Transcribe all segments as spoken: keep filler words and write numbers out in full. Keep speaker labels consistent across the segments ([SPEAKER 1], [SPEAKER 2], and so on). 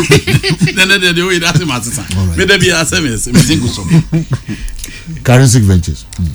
[SPEAKER 1] Nɛnɛ deɛ deɛ oyi de ase ma sisan mi de bi ase mi mi si ngu so.
[SPEAKER 2] Karensic Ventures. Mm.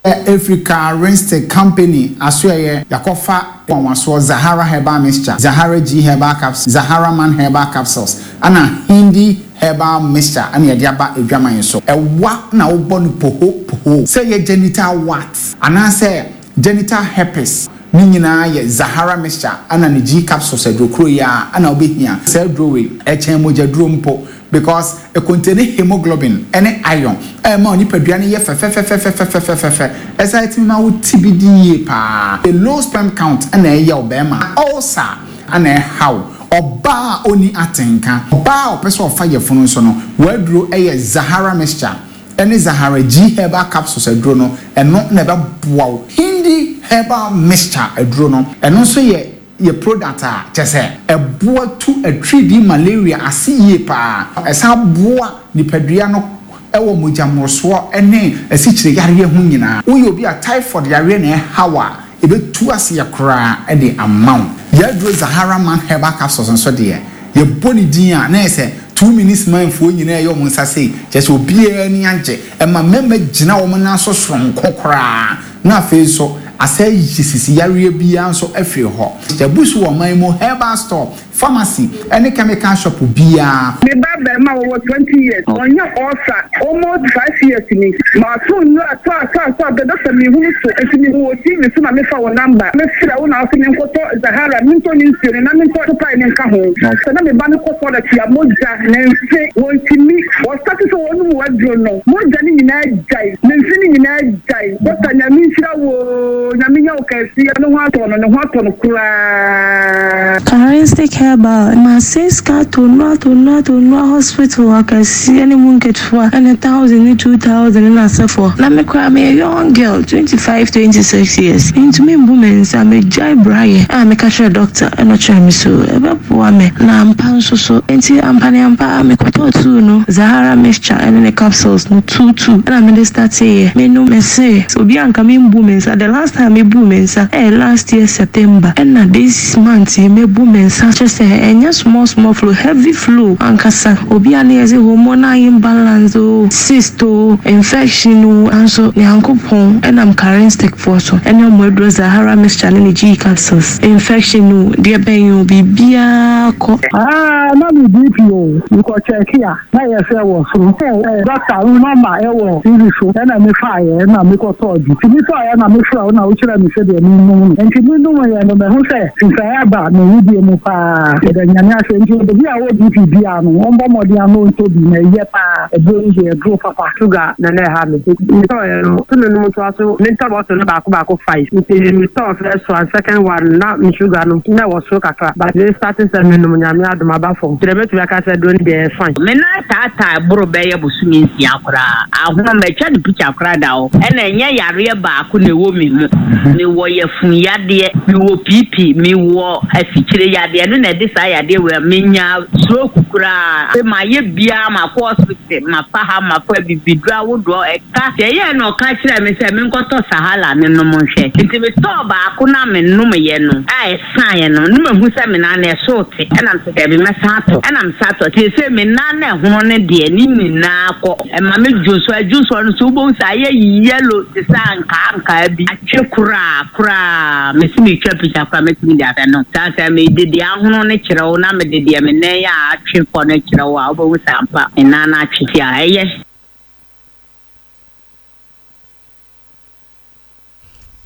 [SPEAKER 3] Ɛfiri Karensic Company asoɛyɛ yakɔfa nwanwasoɔ Zahara Herbal Mixture, Zahara G Herbal Capsules, Zahara Man Herbal Capsules ɛna Hindi Herbal Mixture ɛna yɛde aba adwaman so. Ɛwa na wobɔ no poho poho sɛ yɛ genital warts anaasɛ genital herpes ne nyinaa yɛ Zahara Mixture ɛna ne G capsules adurokuro yi a ɛna wobɛhia. Saa aduro wei ɛkyɛn mogyaduro mpo because ɛcontain hemoglobin ɛne iron ɛma onipadua no yɛ fɛfɛfɛfɛfɛfɛfɛfɛ ɛsan ɛtumi ma wo ti bi di yie paa. A low sperm count ɛna ɛyɛ ɔbɛrima, ulcer ɛna ɛhaw ɔbaa a ɔni atenka, ɔbaa a ɔpɛ sɛ ɔfa yɛfunu nso no wɔaduro ɛyɛ Zahara Mixture ɛne Zahara G Herbal Capsules aduro no, ɛno na ɛbɛboa wo. Hindi Herbal Mixture aduro no, ɛno nso yɛ yɛ product a kyɛ sɛ ɛboa tu atwidi malaria ase yie paa. Ɛsan boa nipadua no ɛwɔ mogyamorosoɔ ne asikyire yareɛ ho nyinaa. Woyɛ obi a typhoid yareɛ na ɛhaw a, ɛbɛtu aseɛ koraa ɛde ama wo. Yɛaduro Zahara Man Herbal Capsules nso deɛ, yɛbɔ ne din a na yɛ sɛ two minutes manfoɔ nyinaa ɛyɛ wɔn nsa sei, kyerɛ sɛ obiara ani agye. Ɛma mmarima gyina wɔn nan so soronko koraa, na afei nso asɛ yi sisi yareɛ biara nso afiri hɔ. Yɛbu so wɔ ɔman mu herbal store, pharmacy ɛne chemical shop biara.
[SPEAKER 4] Me ba bɛrima wɔwɔ twenty years, ɔnyɛ ulcer almost five years ni. Ma so nnura ato ato ato abɛ dɔkta mi hunu so nti mi hu wɔ T V so na mi fa wɔ number. Mi fira wo na ɔsɛ mi nkɔtɔ Zahara, mi ntɔ ne nsuo no na mi ntɔ topae ne nka ho. Sɛ na mi ba no kɔ toilet a, mogya ne nfe wɔntumi. Wɔstart sɛ wɔn mu waduro no, mogya ne nyinaa gyae, ne nfe ne nyinaa gyae. Dɔkta, Nyame nhyira wo, Nyame nya wo kɛseɛ. Ne ho atɔ no, ne ho atɔ no koraa.
[SPEAKER 5] Karensic Herbal ma sika to nnua to nnua to nnua hospital akɛseɛ ne mu nketewa ɛne thousand ne two thousand na asɛfoɔ na me koraa meyɛ young girl, twenty five, twenty six years, ntumi mbu me nsa megyae braeɛ a meka kyerɛ doctor ɛna ɔkyerɛ me so ɛbɛboa me na ampa nso so. Nti ampa ne ampa mekɔtɔɔ two no, Zahara Mixture ɛne ne capsules no two two, ɛna mede starteeɛ menom. Mese obi anka membu me nsa, the last time mebu me nsa ɛyɛ last year September, ɛna this month yi mebu me nsa kyerɛ sɛ ɛnyɛ small small flow, heavy flow ankasa. Obi a ne yɛ sɛ hormonal imbalance o, cyst o, infection o, nso Nyankopɔn ɛnam Karenstick foɔ so ɛne ɔmo aduro Zahara Mixture ne ne G capsules, infection o, deɛ bɛn o, biribiara kɔ.
[SPEAKER 4] Ah, na mi B P o, nkɔ check a na yɛ sɛ wɔ soro. Ɛ dɔkta wo number ɛwɔ T V so, ɛna mi fa yɛ ɛna mi kɔ tɔɔ bi. Ti mi tɔɔ yɛ na mi fura wo na wo kyerɛ mi sɛ deɛ mi num no. Nti mi num yɛ no, mɛ ho sɛ nsaeɛ aba mi wudie mu paa. Yɛda Nyame ase. Nti obi a wɔ B P bia no, wɔn bɔ mmɔden ano ntɔ bi na ɛyɛ paa. Ɛduro yi deɛ, ɛduro papa.
[SPEAKER 6] Sugar na na ɛha me. Metɔɔyɛ no so menom toa so, mentɔ bɔtɔ no baako baako five, nti metɔɔ first one, second one na me sugar no na ɛwɔ soro kakra, but me start sɛ menom, Nyame adom, aba fam. Kyerɛ mɛtumi aka sɛ duro no deɛ, ɛyɛ fine.
[SPEAKER 7] Me nan taataa boro bɛyɛ bosome nsia koraa ahono, matwa ne picture koraa da hɔ. Ɛna ɛnyɛ yareɛ baako na ɛwɔ me mu. Mewɔ yafun yadeɛ, mewɔ B P, mewɔ asikyire yadeɛ. Ɛno na ɛde saa yadeɛ wei a menya stroke koraa. Mayɛ biara, makɔ hospital, mafa ha, mafa bibiduro ahodoɔ ɛka deɛ ɛyɛ na ɔka kyerɛ me sɛ menkɔtɔ Sahala ne nom nhwɛ. Nti metɔɔ baako na menom yɛ no a ɛsaeɛ no ne mahu sɛ me nan no ɛso te, ɛna mesɛ daabi, mɛsan atɔ, ɛna mesa atɔ. Te sɛ me nan na ɛhono no deɛ, ne nyinaa kɔ. Ɛma me dwonso, adwonso no so wobɛhu sɛ ayɛ yellow te sɛ ankaa ankaa bi atwe koraa koraa. Mesi metwa picture koraa, mɛtumi de abɛ no saa sɛ mede deɛ ahono no kyerɛ wo na mede deɛ me nan a atwe kɔ no kyerɛ wo a, wobɛhu sɛ ampa me nan no atwe ti a ɛyɛ.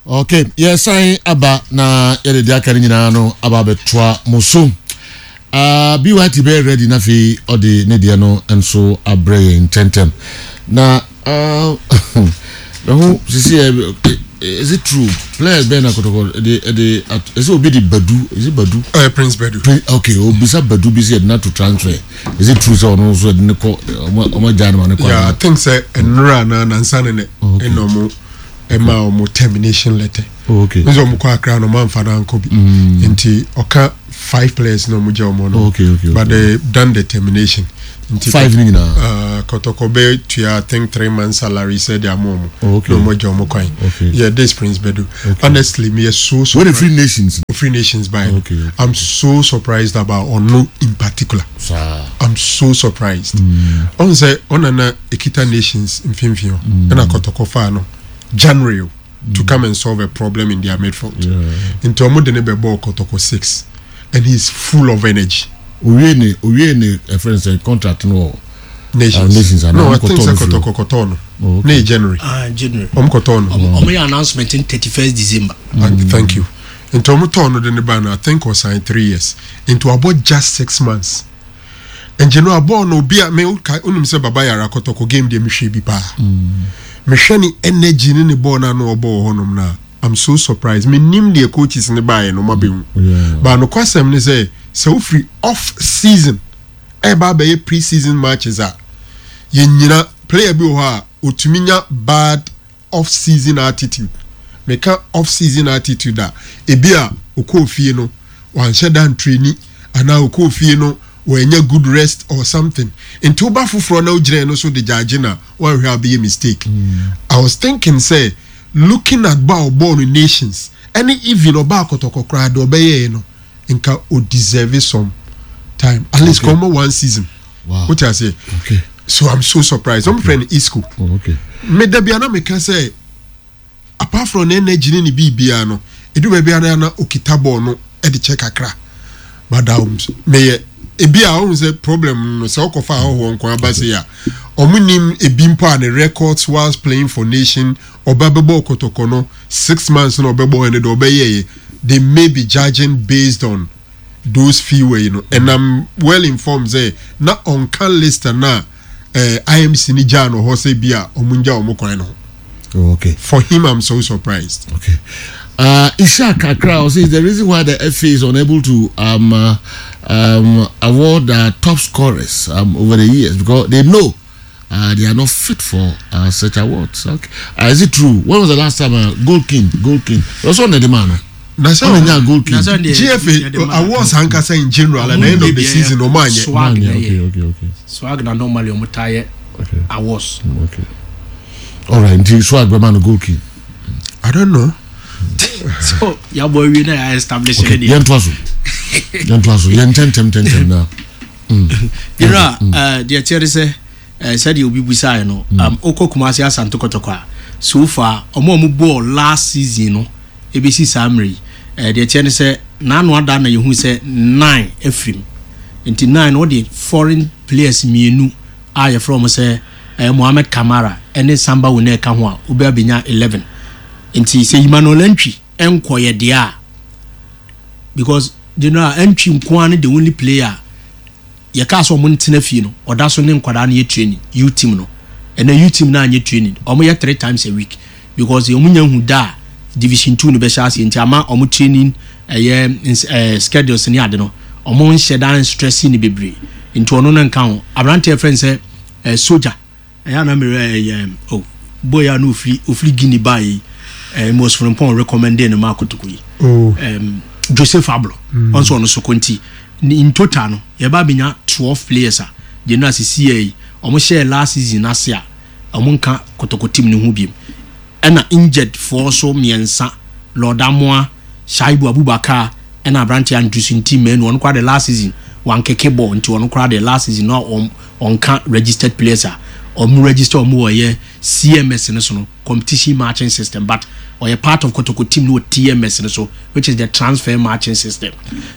[SPEAKER 2] Ok, yɛsan aba na yɛde deɛ aka no nyinaa no aba abɛtoa mo so. uh, B Y T bɛyɛ ready na afei ɔde ne deɛ no nso abrɛ yɛn ntɛntɛm na uh, meho sisi yɛ. Is it true, players bɛn na Kɔtɔkɔ ɛde ɛde ɛsɛ obi de Badu, is it Badu?
[SPEAKER 8] Uh, Prince Badu.
[SPEAKER 2] Prince, okay, obisa Badu bi sɛ yɛde na to transfer. Is it true sɛ ɔno nso yɛde ne kɔ, ɔmo ɔmo agya ne ma ne kɔ?
[SPEAKER 8] Yeah, I think sɛ nnura na nansa ne ne ɛna ɔmo ɛma ɔmo termination letter.
[SPEAKER 2] Oh, okay.
[SPEAKER 8] Nso ɔmo kɔ Akra no, ɔmo anfa no ankɔ bi. Nti ɔka five players na ɔmo gye ɔmo no.
[SPEAKER 2] Oh, okay, okay,
[SPEAKER 8] but
[SPEAKER 2] okay.
[SPEAKER 8] They done the termination. Nti
[SPEAKER 2] Five ni nyinaa.
[SPEAKER 8] Uh, Kɔtɔkɔ bɛ tua I think three months salary sɛ de ama ɔmo.
[SPEAKER 2] Oh, okay.
[SPEAKER 8] Na ɔmo agya ɔmo kwan.
[SPEAKER 2] Okay.
[SPEAKER 8] Yeah, this Prince Bedu.
[SPEAKER 2] Okay.
[SPEAKER 8] Honestly, me so
[SPEAKER 2] Wọ́n
[SPEAKER 8] surprised.
[SPEAKER 2] free nations.
[SPEAKER 8] Free Nations by.
[SPEAKER 2] Okay, okay.
[SPEAKER 8] I'm so surprised about Ono in particular.
[SPEAKER 2] Saa.
[SPEAKER 8] I'm so surprised. Ɔn sɛ ɔnana ekita Nations mfimfini hɔ ɛna Kɔtɔkɔ fa no January o, to come and solve a problem in their midfield.
[SPEAKER 2] Yeah.
[SPEAKER 8] Nti ɔmo de ne bɛ bɔ Kɔtɔkɔ six and he's full of energy.
[SPEAKER 2] Owie ne owie ne ɛfrɛ no sɛ contract no wɔ.
[SPEAKER 8] Nations.
[SPEAKER 2] Uh, Nations, ana
[SPEAKER 8] no, I
[SPEAKER 2] ɔmo
[SPEAKER 8] think
[SPEAKER 2] kɔtɔɔ
[SPEAKER 8] sɛ
[SPEAKER 2] no firi hɔ.
[SPEAKER 8] Kɔtɔkɔ kɔtɔɔ no.
[SPEAKER 2] Oh, okay.
[SPEAKER 8] Ne yɛ January.
[SPEAKER 9] Ah, January.
[SPEAKER 8] Ɔmo kɔtɔɔ no.
[SPEAKER 9] Ɔmo yɛ announcement in thirty first December.
[SPEAKER 8] And Thank you. Nti ɔmo tɔɔ no de ne ba no I think ɔsign three years. Nti wabɔ just six months. Nti no abɔɔ no obi a me woka onim sɛ Baba Yara Kɔtɔkɔ game deɛ mehwɛ bi paa. Mehwɛ ne energy ne ne bɔɔl no ano ɔbɔ wɔ hɔnom no a I'm so surprised. Menim deɛ coaches ne baeɛ no mabɛhu.
[SPEAKER 2] Yeah.
[SPEAKER 8] But nokwasɛm ne sɛ sɛ wofiri off season ɛba abɛyɛ pre season matches a yɛnyina player bi wɔ hɔ a otumi nya bad off season attitude meka off season attitude a ebi a okɔɔ fie no wanhyɛ da ntrani anaa okɔɔ fie no wɔanya good rest or something nti woba foforɔ na wogyina no so de gyaagye na wanhwɛ a bɛyɛ mistake i was thinking sɛ looking at ba ɔbɔɔ no nations ɛne even ɔba akɔtɔkɔ koraa deɛ ɔbɛyɛɛ no nka o deserve some time at least
[SPEAKER 2] Okay.
[SPEAKER 8] kɔmɔ one season
[SPEAKER 2] Wow.
[SPEAKER 8] wote aseɛ
[SPEAKER 2] Okay.
[SPEAKER 8] so i'm so surprised ɔmo frɛ no isco
[SPEAKER 2] Oh, okay.
[SPEAKER 8] meda bia na meka sɛ apart from ne energy ne ne biribiara no edu baabi a na na okita ball no ɛde kyɛ kakra but um, meyɛ ebi a ɔhun sɛ problem no sɛ ɔkɔfa ahɔhoɔ nko aba se a ɔmo nim ebi mpo a ne records whilst playing for nation ɔba bɛbɔ kɔtɔkɔ no six months na ɔbɛbɔ ɛno de ɔbɛyɛ yɛ they may be judging based on those few way no and i'm well informed sɛ na ɔnka list na eh, imc ni gyaa no hɔ sɛ bi a ɔmo ngya ɔmo kwan no ho
[SPEAKER 2] Oh, okay.
[SPEAKER 8] for him i'm so surprised.
[SPEAKER 2] Okay. Uh, Ishak Akra says the reason why the FA is unable to um, uh, um, award uh, top scorers um, over the years because they know uh, they are not fit for uh, such awards. Okay. Uh, is it true? When was the last time uh, Goal King? Goal King. Also on the demand.
[SPEAKER 8] na sɛ
[SPEAKER 2] Ɔno nya goal king.
[SPEAKER 9] Na sɛ deɛ-
[SPEAKER 8] gfa
[SPEAKER 9] yɛde ma-
[SPEAKER 8] awards ankasa in general at the end of the season ɔmo anyɛ
[SPEAKER 9] Swag na
[SPEAKER 2] Okay,
[SPEAKER 9] yɛ.
[SPEAKER 2] okay, okay,
[SPEAKER 9] Swag na normally ɔmo taa yɛ
[SPEAKER 2] okay,
[SPEAKER 9] awards.
[SPEAKER 2] okay. All right. Nti swag bɛma no goal king.
[SPEAKER 8] i don't know
[SPEAKER 9] So yabɔ awie na yɛ establish
[SPEAKER 2] Okay.
[SPEAKER 9] ne deɛ.
[SPEAKER 2] Yɛn to aso. Yɛn to aso. Yɛn tɛntɛm tɛntɛm na.
[SPEAKER 9] Yɛrɛ a deɛ kyerɛ de sɛ eh, sɛdeɛ obi busaeɛ no um, wokɔ Kumasi Asante Kɔtɔkɔ a so far ɔmo a ɔmo bɔɔ last season no ebesi saa mmerɛ yi eh, deɛ kyerɛ ne sɛ n'ano ada na yɛhu sɛ nine afirim nti nine no wɔde foreign players mmienu a yɛfrɛ ɔmo sɛ eh, Mohamed Kamara ɛne Samba Wone ɛka ho a wobɛ abɛnya eleven nti sɛ Emmanuel Antwi ɛnkɔyɛ deɛ a because general Antwi nko ara ne the only player yɛka sɛ ɔmo ntena fie no ɔda so ne nkwadaa no yɛ training u team no ɛnna u team no anyɛ training ɔmo yɛ three times a week because ɔmo nya hu da a division two no bɛhyɛ aseɛ nti ama ɔmo training ɛyɛ ns ɛɛ schedules ne ade no ɔmo nhyɛ dan stress ne bebree nti ɔno no nka ho aberanteɛ fɛn sɛ ɛɛ soja ɛyɛ anamire ɛyɛ o boy a no ofiri ofiri guinea baa yi ɛɛ mos frimpong recommended no ma akotoko yi
[SPEAKER 8] oh
[SPEAKER 9] um, joseph ablo mm. ɔnso ɔno so kɔnti in total no yɛba abɛnya twelve players a gyenu asisi yɛ yi ɔmo hyɛɛ last season ase a ɔmo nka kotoko team no ho biem ɛna injured foɔ so mmiɛnsa lord amoa shaibu abubakar ɛna aberanteɛ andrews nti mmienu ɔno koraa de last season wankeke ball nti ɔno koraa de last season na ɔn ɔnka registered players a ɔmo register ɔmo wɔ yɛ cms no so no competition matching system but ɔyɛ part of kotoko team no wɔ tms no so which is the transfer matching system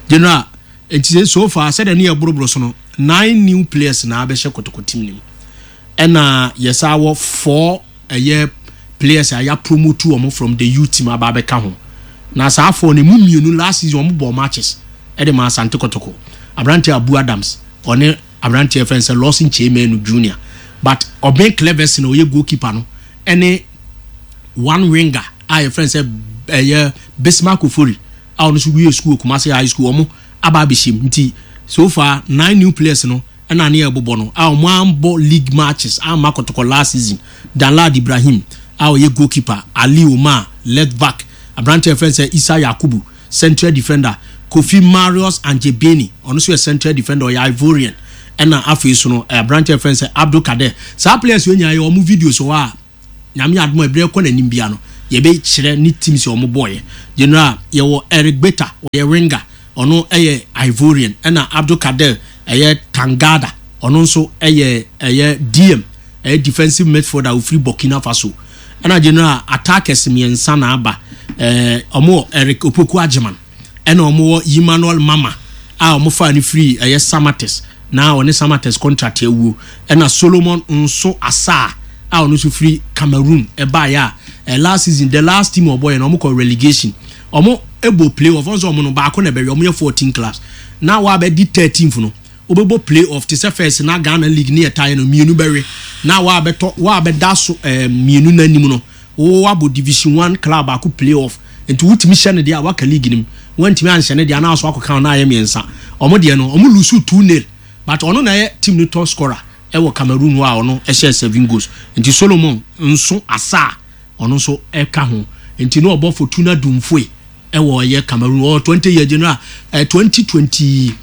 [SPEAKER 9] general nti sɛ so far sɛdeɛ ne yɛ boroboro so no nine new players na abɛhyɛ kotoko team no mu ɛna yɛsa wɔ four ɛyɛ players a yɛ promote wɔn from the youth team aba abɛka ho na saa four no emu mmienu last season wɔn bɔ matches ɛde ma asante kotoko aberanteɛ abu adams ɔne aberanteɛ fɛn sɛ lawson kyemenu junior but ɔbɛn clevers na ɔyɛ goalkeeper no ɛne one winger a yɛfrɛ no sɛ ɛyɛ bismarck ofori a ɔno nso wie school kumasi high school ɔmo aba abɛhyɛ mu nti so far nine new players no ɛna ne yɛ bobɔ no a ɔmo ambɔ league matches ama kɔtɔkɔ last season danlad ibrahim a ɔyɛ goalkeeper ali omar left back aberanteɛ yɛfrɛ no sɛ isa yakubu central defender kofi marius anjebeni ɔno nso yɛ central defender ɔyɛ ivorian Ɛna afei so no, aberanteɛ fɛn sɛ Abdul Kader. Saa players yɛ nyinaa yɛ ɔmo videos wɔ a, Nyame adom a, ebire kɔ n'anim bia no, yɛbɛkyerɛ ne team sɛ ɔmo bɔɔyɛ. General, yɛwɔ Eric Beta, ɔyɛ winger, ɔno ɛyɛ Ivorian. Ɛna Abdul Kader ɛyɛ Tangada, ɔno nso ɛyɛ ɛyɛ D M, ɛyɛ defensive midfielder, ofiri Burkina Faso. Ɛna general, attackers mmiɛnsa na aba. ɛɛ ɔmo wɔ Eric Opoku Agyeman, ɛna ɔmo wɔ Emmanuel Mama a ɔmo fa ne firi ɛyɛ Samates na ɔne Samates contract awuo, ɛna Solomon Nso Asa a ɔno nso firi Cameroon ɛbaeɛ a ɛ last season, the last team ɔbɔ yɛ no, ɔmo kɔ relegation, ɔmo ɛbɔ play off. Ɔnso ɔmo no baako na ɛbɛyɛ, ɔmo yɛ fourteen clubs na wabɛdi thirteenth no, wobɛbɔ play off te sɛ first na Ghana league ne yɛ taeɛ no, mmienu bɛwe na wabɛtɔ wabɛda so ɛɛ mmienu n'anim no, wabɔ division one club baako play off. Nti wotumi hyɛ no deɛ a, waka league nim, wantumi anhyɛ no deɛ anaa so akɔka no ayɛ mmiɛnsa. Ɔmo deɛ no, ɔmo lose two nil, but ɔno na ɛyɛ team no top scorer ɛwɔ Cameroon hɔ a ɔno ɛhyɛ seven goals. Nti Solomon Nso Asa a ɔno nso ɛka ho, nti na ɔbɔ Fortuna Dumfoe ɛwɔ ɛyɛ Cameroon. Ɔwɔ twenty year. General, ɛ twenty twenty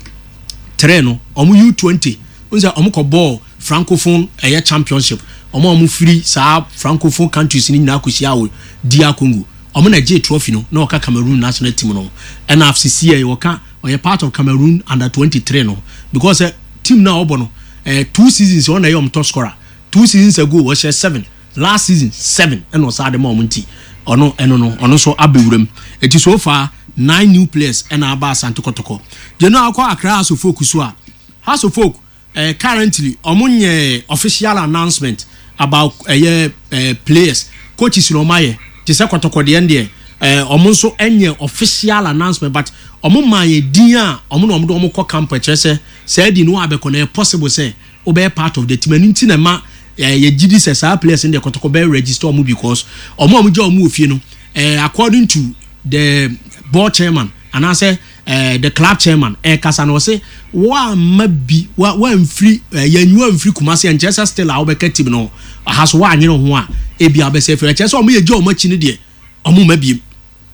[SPEAKER 9] three no, ɔmo U twenty n sɛ ɔmo kɔ bɔɔl Francophone ɛyɛ championship. Ɔmo a ɔmo firi saa Francophone countries ni nyinaa kɔhyia wɔ D R Congo. Ɔmo na gye trophy no na ɔka Cameroon national team no. Ɛna sisi yɛ wɔka ɔyɛ part of Cameroon under twenty three no, because ɛ team na ɔbɔ no ɛ two seasons, ɔna ɛyɛ ɔmo top scorer. Two seasons ago ɔhyɛ seven, last season seven, ɛna ɔsan de ma ɔmo. Nti ɔno ɛno no, ɔno nso abɛwura mu. Eti so far nine new players ɛna aba Asante Kɔtɔkɔ. Gyenu akɔ Accra Hearts of Oak so a, Hearts of Oak eh, currently ɔmo nyɛ official announcement about ɛyɛ eh, players. Coaches na ɔmo ayɛ te sɛ Kɔtɔkɔ deɛ deɛ eh, ɔmo nso nyɛ official announcement, but ɔmo maa yɛ din a ɔmo na ɔmo de ɔmo kɔ camp. Ɛkyerɛ sɛ sɛ ɛdi no abɛkɔ na ɛyɛ possible sɛ ɔbɛyɛ part of the team. Ɛno nti na ɛma ɛɛ yɛgye di sɛ saa players no deɛ, Kɔtɔkɔ bɛyɛ register ɔmo, because ɔmo a ɔmo gya ɔmo wɔ fie no, ɛɛ according to the board chairman anaasɛ ɛɛ the club chairman ɛɛkasa na ɔsɛ wɔama bi wa wɔamfiri ɛɛ yɛnyi wɔamfiri Kumase, nkyɛn sɛ still a wɔbɛka team no aha so wɔanyere ho a, ebi abɛsɛ fɛ ɛkyɛ sɛ ɔmo yɛ gya ɔmo akyi no deɛ, ɔmo ma biem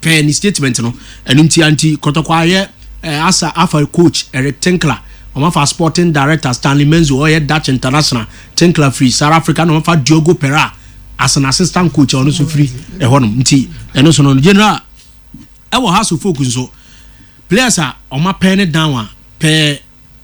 [SPEAKER 9] pɛɛ ne statement no. Ɛno nti anti Kɔtɔkɔ ayɛ ɛɛ asa afa coach Eric Tinkler, ɔmo afa sporting director Stanley Menzo, ɔyɛ Dutch international. Tinkler firi South Africa, na ɔmo afa Diogo Pera as an assistant coach a ɔno nso firi ɛhɔnom. Nti ɛno so no, general, ɛwɔ Hearts of Oak nso, players a ɔmo apɛ ne down a pɛɛ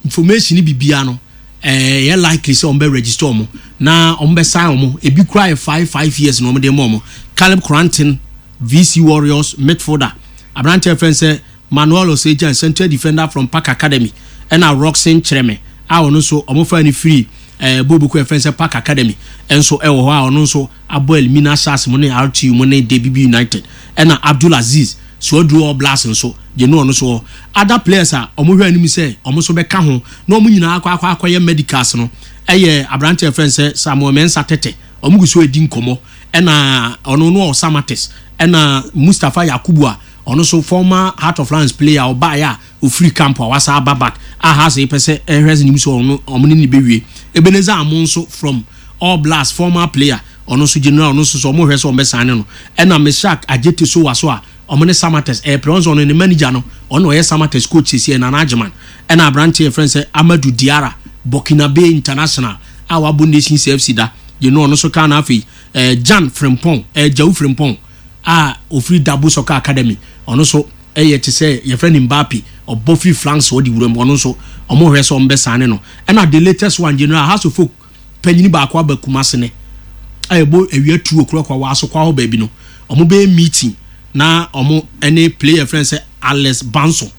[SPEAKER 9] information ni bibia no, ɛɛ yɛ likely sɛ ɔmo bɛ register ɔmo na ɔmo bɛ sign ɔmo. Ebi kura yɛ five five years na ɔmo de ma ɔmo: Caleb Cranton, V C Warriors midfielder; aberanteɛ fɛn sɛ Manuel Osejan, central defender from Park Academy; ɛna Roxon Kyerɛmɛ a ɔno nso ɔmo fa ne firi ɛɛ bobuku ɛfɛn sɛ Park Academy ɛnso ɛwɔ hɔ a ɔno nso abɔ Elmina Sharks mu ne R T U mu ne D B B United; ɛna Abdul Aziz Suaduro, All Blacks nso gye no. Ɔno so wɔ other players a ɔmo hwɛ anim sɛ ɔmo nso bɛka ho na ɔmo nyinaa akɔ akɔ akɔyɛ medicals no. Ɛyɛ aberanteɛ fɛn sɛ Samuel Mensa Tete, ɔmo gu so edi nkɔmɔ, ɛna ɔno no ɔwɔ Samates; ɛna Mustapha Yakubu a ɔno nso former Heart of Lions player, ɔbaeɛ a ofiri camp a wasa aba back a ha sɛ pɛ sɛ ɛhwɛ sɛ nim sɛ ɔno ɔmo ne ne bɛwie. Ebenezer Amo nso from All Blacks, former player, ɔno nso, general, ɔno nso so ɔmo hwɛ sɛ ɔmo bɛsan ne no. Ɛna Meshak Agyete so wa so a ɔmo ne Samates ɛyɛ pɛrɛ ɔno ne manager no, ɔno ɔyɛ Samates coach sisi ɛ Nana Agyeman. Ɛna aberanteɛ yɛfrɛ sɛ Amadu Diara, Burkinabe international a wabɔ Nations F C da yɛn no, ɔno nso kan. Na afei ɛɛ Jan Frimpong, ɛɛ Jawu Frimpong a ofiri Dabo Soccer Academy, ɔno nso ɛyɛ te sɛ yɛfrɛ no Mbappe, ɔbɔ free flanks, ɔde wura mu. Ɔno nso ɔmo hwɛ sɛ ɔmo bɛ san ne no. Ɛna the latest one, general, Hearts of Oak panyini baako aba Kumase ne a yɛbɔ awia tu okura kɔ wɔ asokwa hɔ baabi no, ɔmo bɛyɛ meeting na ɔmo ɛne player frɛ sɛ Alex Banso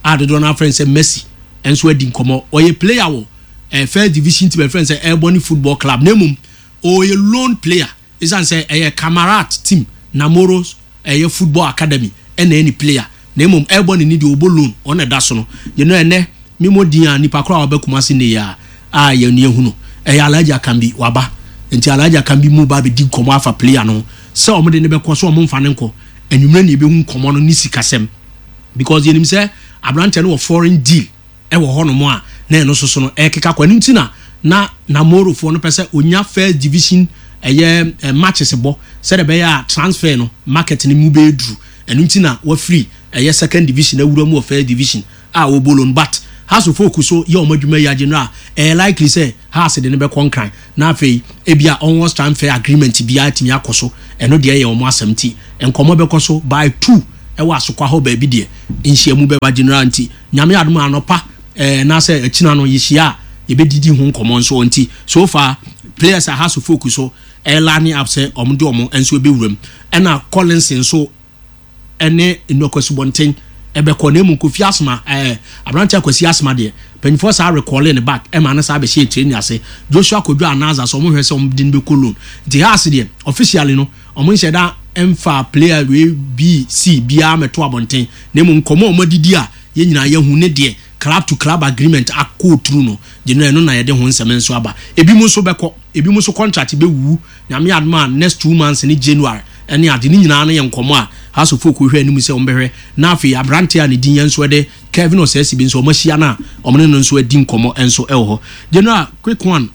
[SPEAKER 9] a dodoɔ no afrɛ sɛ Messi ɛnso adi nkɔmɔ. Ɔyɛ player wɔ ɛɛ first division team ɛfrɛ sɛ Airborne Football Club, na emom ɔyɛ loan player esan sɛ ɛyɛ Camarat team Namoro ɛyɛ football academy ɛna ɛne player, na emom Airborne ni deɛ ɔbɔ loan, ɔna ɛda so no. Yɛn ɛnɛ mímɔ din a nipa koro a ɔbɛ Kumasi ne yɛ a a yɛn ni ehunu ɛyɛ Alhaji Akambi waba. Nti Alhaji Akambi mu ba abɛdi nkɔmɔ afa player no sɛ ɔmo de ne bɛkɔ so, ɔmo nfa ne nkɔ. Enyimire na ebehu nkɔmɔ no ne sikasɛm, because yɛnim sɛ aberanteɛ no wɔ foreign deal ɛwɔ hɔnom a na ɛno nso so no ɛkeka kɔ. Ɛno nti na na Namorofoɔ no pɛ sɛ onya first division ɛyɛ ɛ matches bɔ sɛdeɛ ɛbɛyɛ a transfer no market no mu bɛyɛ duru. Ɛno nti na wafiri ɛyɛ second division awura mu wɔ first division a wɔbɔ loan, but Hearts of Oak so yɛ ɔmo adwuma yi agye no a, ɛyɛ likely sɛ Hearts de ne bɛkɔ Nkran na afei ebia onwards transfer agreement biara tumi akɔ so. Ɛno deɛ yɛ ɔmo asɛm, ti nkɔmɔ bɛkɔ so by two ɛwɔ Asokwa hɔ baabi deɛ nhyiamu bɛba general. Nti Nyame adom anɔpa ɛɛ n'asɛ akyina no yɛhyia a, yɛbɛdidi ho nkɔmɔ nso. Nti so far players a Hearts of Oak so ɛɛ up sɛ ɔmo de ɔmo nso ɛbɛwura mu, ɛna Collins nso ɛne Nnɔkɔsubɔnten ɛbɛkɔ. Na emu Kofi Asoma, ɛɛ aberante Akwasi Asoma deɛ, mpanyinfoɔ saa recall ne back ɛma ne saa bɛhyɛ training ase. Joshua Kodwo Anaza so, ɔmo hwɛ sɛ ɔmo de no bɛkɔ loan. Nti Hearts deɛ, officially no, ɔmo nhyɛ da ɛmfa player wei b c biara mɛto abɔnten, na emu nkɔmɔ a ɔmo adidi a yɛn nyinaa yɛhu ne deɛ, club to club agreement akɔ through no gye no, ɛno na yɛde ho nsɛm nso aba. Ebi mu nso bɛkɔ, ebi mu nso contract bɛwu Nyame adom a next two months ne January ɛne ade ne nyinaa no yɛ nkɔmɔ a Hearts of Oak hwɛ anim sɛ ɔmbɛhwɛ. Na afei aberante a ne din yɛn nso ɛde Kevin Ɔsɛsi bi nso, ɔmo ahyia no a ɔmo ne no nso adi nkɔmɔ nso ɛwɔ hɔ. General, quick one,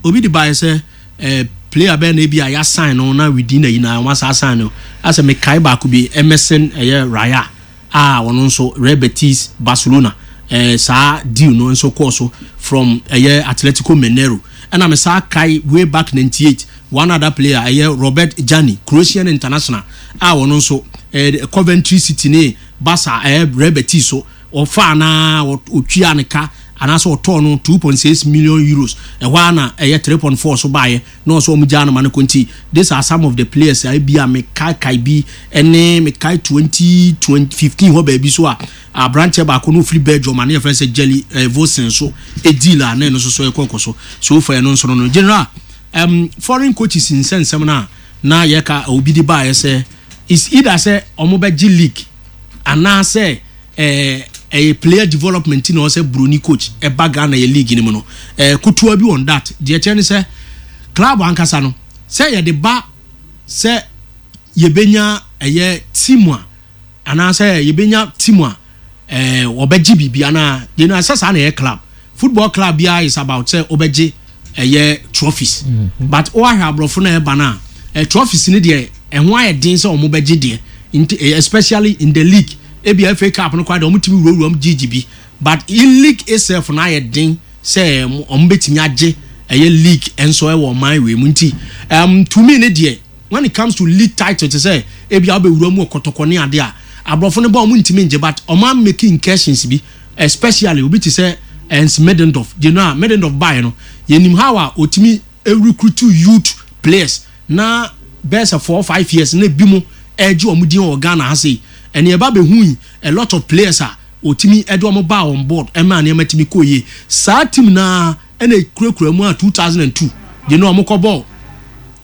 [SPEAKER 9] obi de baayɛ sɛ ɛɛ player bɛɛ na ebi a yɛasign no na within ayi na wɔn asa asign no, asɛ mekae baako bi, Emerson ɛyɛ Raya a ɔno nso Real Betis, Barcelona, ɛɛ saa deal no nso kɔɔ so from ɛyɛ Atletico Mineiro. Ɛna me saa kae way back ninety eight, one other player ɛyɛ Robert Jani, Croatian international a ɔno nso ɛɛ Coventry City ne Barca, ɛyɛ Real Betis so ɔfa anaa otwia ne ka anaasɛ ɔtɔɔ no two point six million euros. Ɛhɔ a na ɛyɛ three point four so baayɛ na ɔsɛ ɔmo gyaa no ma no kɔ. Nti these are some of the players a ebi a mekae bi ɛne mekae twenty twenty fifteen hɔ baabi so a aberanteɛ baako no ofiri Belgium a ne yɛfrɛ sɛ Jelly ɛɛ Vosen so deal a na ɛno nso so ɛkɔ kɔ so so far. Ɛno nso no no general, um, foreign coaches nsɛnsɛm no a na yɛka obi de baayɛ sɛ is either sɛ ɔmo bɛgye league anaasɛ ɛɛ ɛyɛ player development na ɔsɛ broni coach ɛba Ghana yɛ league ni mu no, ɛɛ kutuwa bi on that deɛ kyerɛ ne sɛ club ankasa no sɛ yɛde ba sɛ yɛbɛnya ɛyɛ team a anaasɛ yɛbɛnya team a ɛɛ wɔbɛgye biribi anaa yɛn asɛ saa na ɛyɛ club football club biara is about sɛ wɔbɛgye ɛyɛ trophies mm -hmm. But wɔahwɛ aborɔfo na ɛba no a, ɛ trophies ni deɛ ɛho ayɛ den sɛ wɔn bɛgye deɛ, nti especially in the league. Ebi F A Cup no koraa deɛ, wɔn tumi wurawura mu gyegye bi, but in league itself no ayɛ den sɛ wɔn bɛtumi agye ɛyɛ league nso ɛwɔ ɔman wei mu. Nti um, to me ne deɛ, when it comes to league title, te sɛ ebi a wɔbɛwura mu wɔ Kɔtɔkɔ ne adeɛ a aborɔfo no bɔ, wɔn ntumi ngye, but wɔn amake incursions bi, especially obi te sɛ Ernst Middendorf. Gye no a Middendorf baeɛ no, yɛnim how a otumi recruit youth players na bɛyɛ sɛ four five years na ebi mu ɛgye wɔn din wɔ Ghana ha sei. Ɛnna ɛba bɛhu yi a lot of players a otumi ɛde wɔn ba on board ɛma nneɛma tumi kɔ yie. Saa team naa ɛna ekurakura mu a two thousand and two gye no wɔn kɔ bɔɔl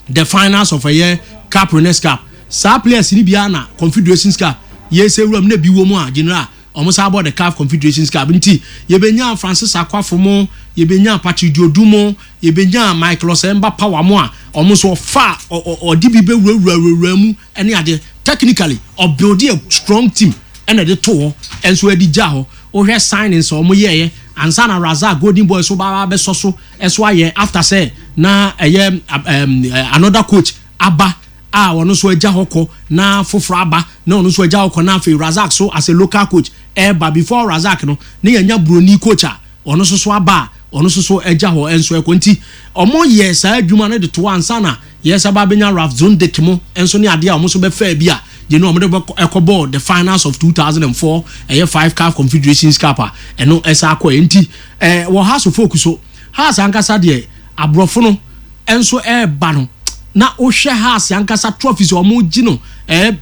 [SPEAKER 9] the finals of ɛyɛ Cup Winners' Cup. Saa players ni biara na Confederations Cup yɛsɛ wura mu na bi wɔ mu a general wɔn san bɔ the CAF Confederations Cup. Nti yɛbɛnya Francis Akwafo mo, yɛbɛnya Patrick Diodu mo, yɛbɛnya Michael Osemba Power mo a wɔn nso ɔfa ɔde bi bɛwurawura wurawura mu ɛne adeɛ. Technically ɔbuild a strong team ɛna ɛde to hɔ ɛnso ɛde gya hɔ. Wohwɛ signings a wɔn yɛɛyɛ ansa na Razak Golden Boy so ba bɛsɔ so ɛso ayɛ after sɛ na ɛyɛ um, another coach aba a ɔno nso agya hɔ kɔ na foforɔ aba na ɔno nso agya hɔ kɔ, na afei Razak so as a local coach ɛɛba. Before Razak no ne yɛnya broni coach a ɔno nso so aba a ɔno nso so agya hɔ nso ɛkɔ. Nti ɔmo yɛ saa adwuma no de to ansa na yɛsɛ ba bɛnya Ralph Zondek mo nso ne adeɛ a ɔmo nso bɛfɛ bi a gye no ɔmo de ɛkɔ bɔɔl the finals of two thousand and four ɛyɛ five CAF Confederations Cup a ɛno ɛsa akɔ yɛ. Nti ɛɛ wɔ Hearts of Oak so, Hearts ankasa deɛ, aborɔfo no nso ɛɛba no na wohwɛ Hearts ankasa trophies a wɔn gye no ɛɛ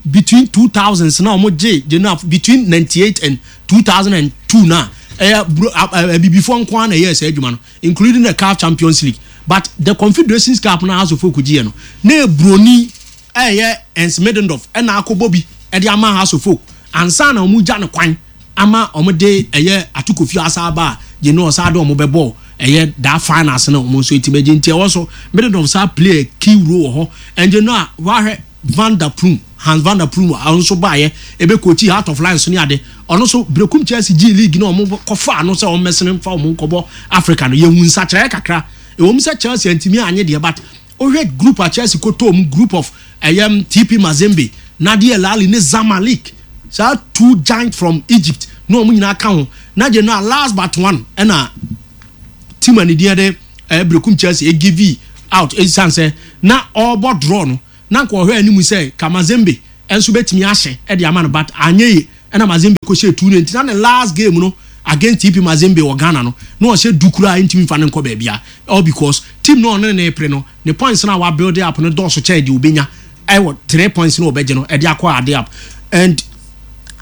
[SPEAKER 9] between two thousands na wɔn gye gye no between ninety eight and two thousand and two na ɛyɛ bro abibifoɔ nko ara na ɛyɛ ɛsɛ adwuma no, including the CAF Champions League. But the Confederations Cup na Hearts of Oak gye yɛ no na ebroni ɛyɛ Ernst Middendorf ɛna akɔbɔ bi ɛde ama Hearts of Oak ansa na wɔn gya ne kwan ama wɔn de ɛyɛ Atukofi asa aba a gye no ɔsa de wɔn bɛbɔ ɛyɛ that finals no, wɔn nso eti bɛgye. Nti ɛwɔ so Middendorf saa play a key role wɔ hɔ. Ɛnjɛ no a wahwɛ Van der Pluijm, Hans van der Pluijm a ɔno nso baayɛ ebe coach Heart of Lions ne ade, ɔno nso Berekum Chelsea gye league na wɔn kɔfa ano sɛ wɔn mɛsene fa wɔn nkɔbɔ Africa no, yɛhu nsakyerɛ kakra. Ɛwɔ mu sɛ Chelsea ntumi anye deɛ, but wohwɛ group a Chelsea kɔtɔ mu, group of ɛyɛ T P Mazembe, Nadia Lali ne Zamalek, saa two giant from Egypt. Na ɔmo nyinaa ka ho na gye no a last but one ɛna team a ne din de ɛɛ Berekum Chelsea egive out, esiane sɛ na ɔrebɔ draw no na nka ɔhwɛ anim sɛ Kamazembe ɛnso bɛtumi ahyɛ ɛde ama no, but anyɛ yie. Ɛna Mazembe kɔ hyɛ two ne nti na ne last game no against T P Mazembe wɔ Ghana no na ɔhyɛ du koraa, ntumi nfa ne nkɔ baabi a, all because team no ɔne ne pere no ne points na wa build up no dɔɔso kyɛn deɛ obenya ɛwɔ three points na ɔbɛgye no ɛde akɔ ade up. And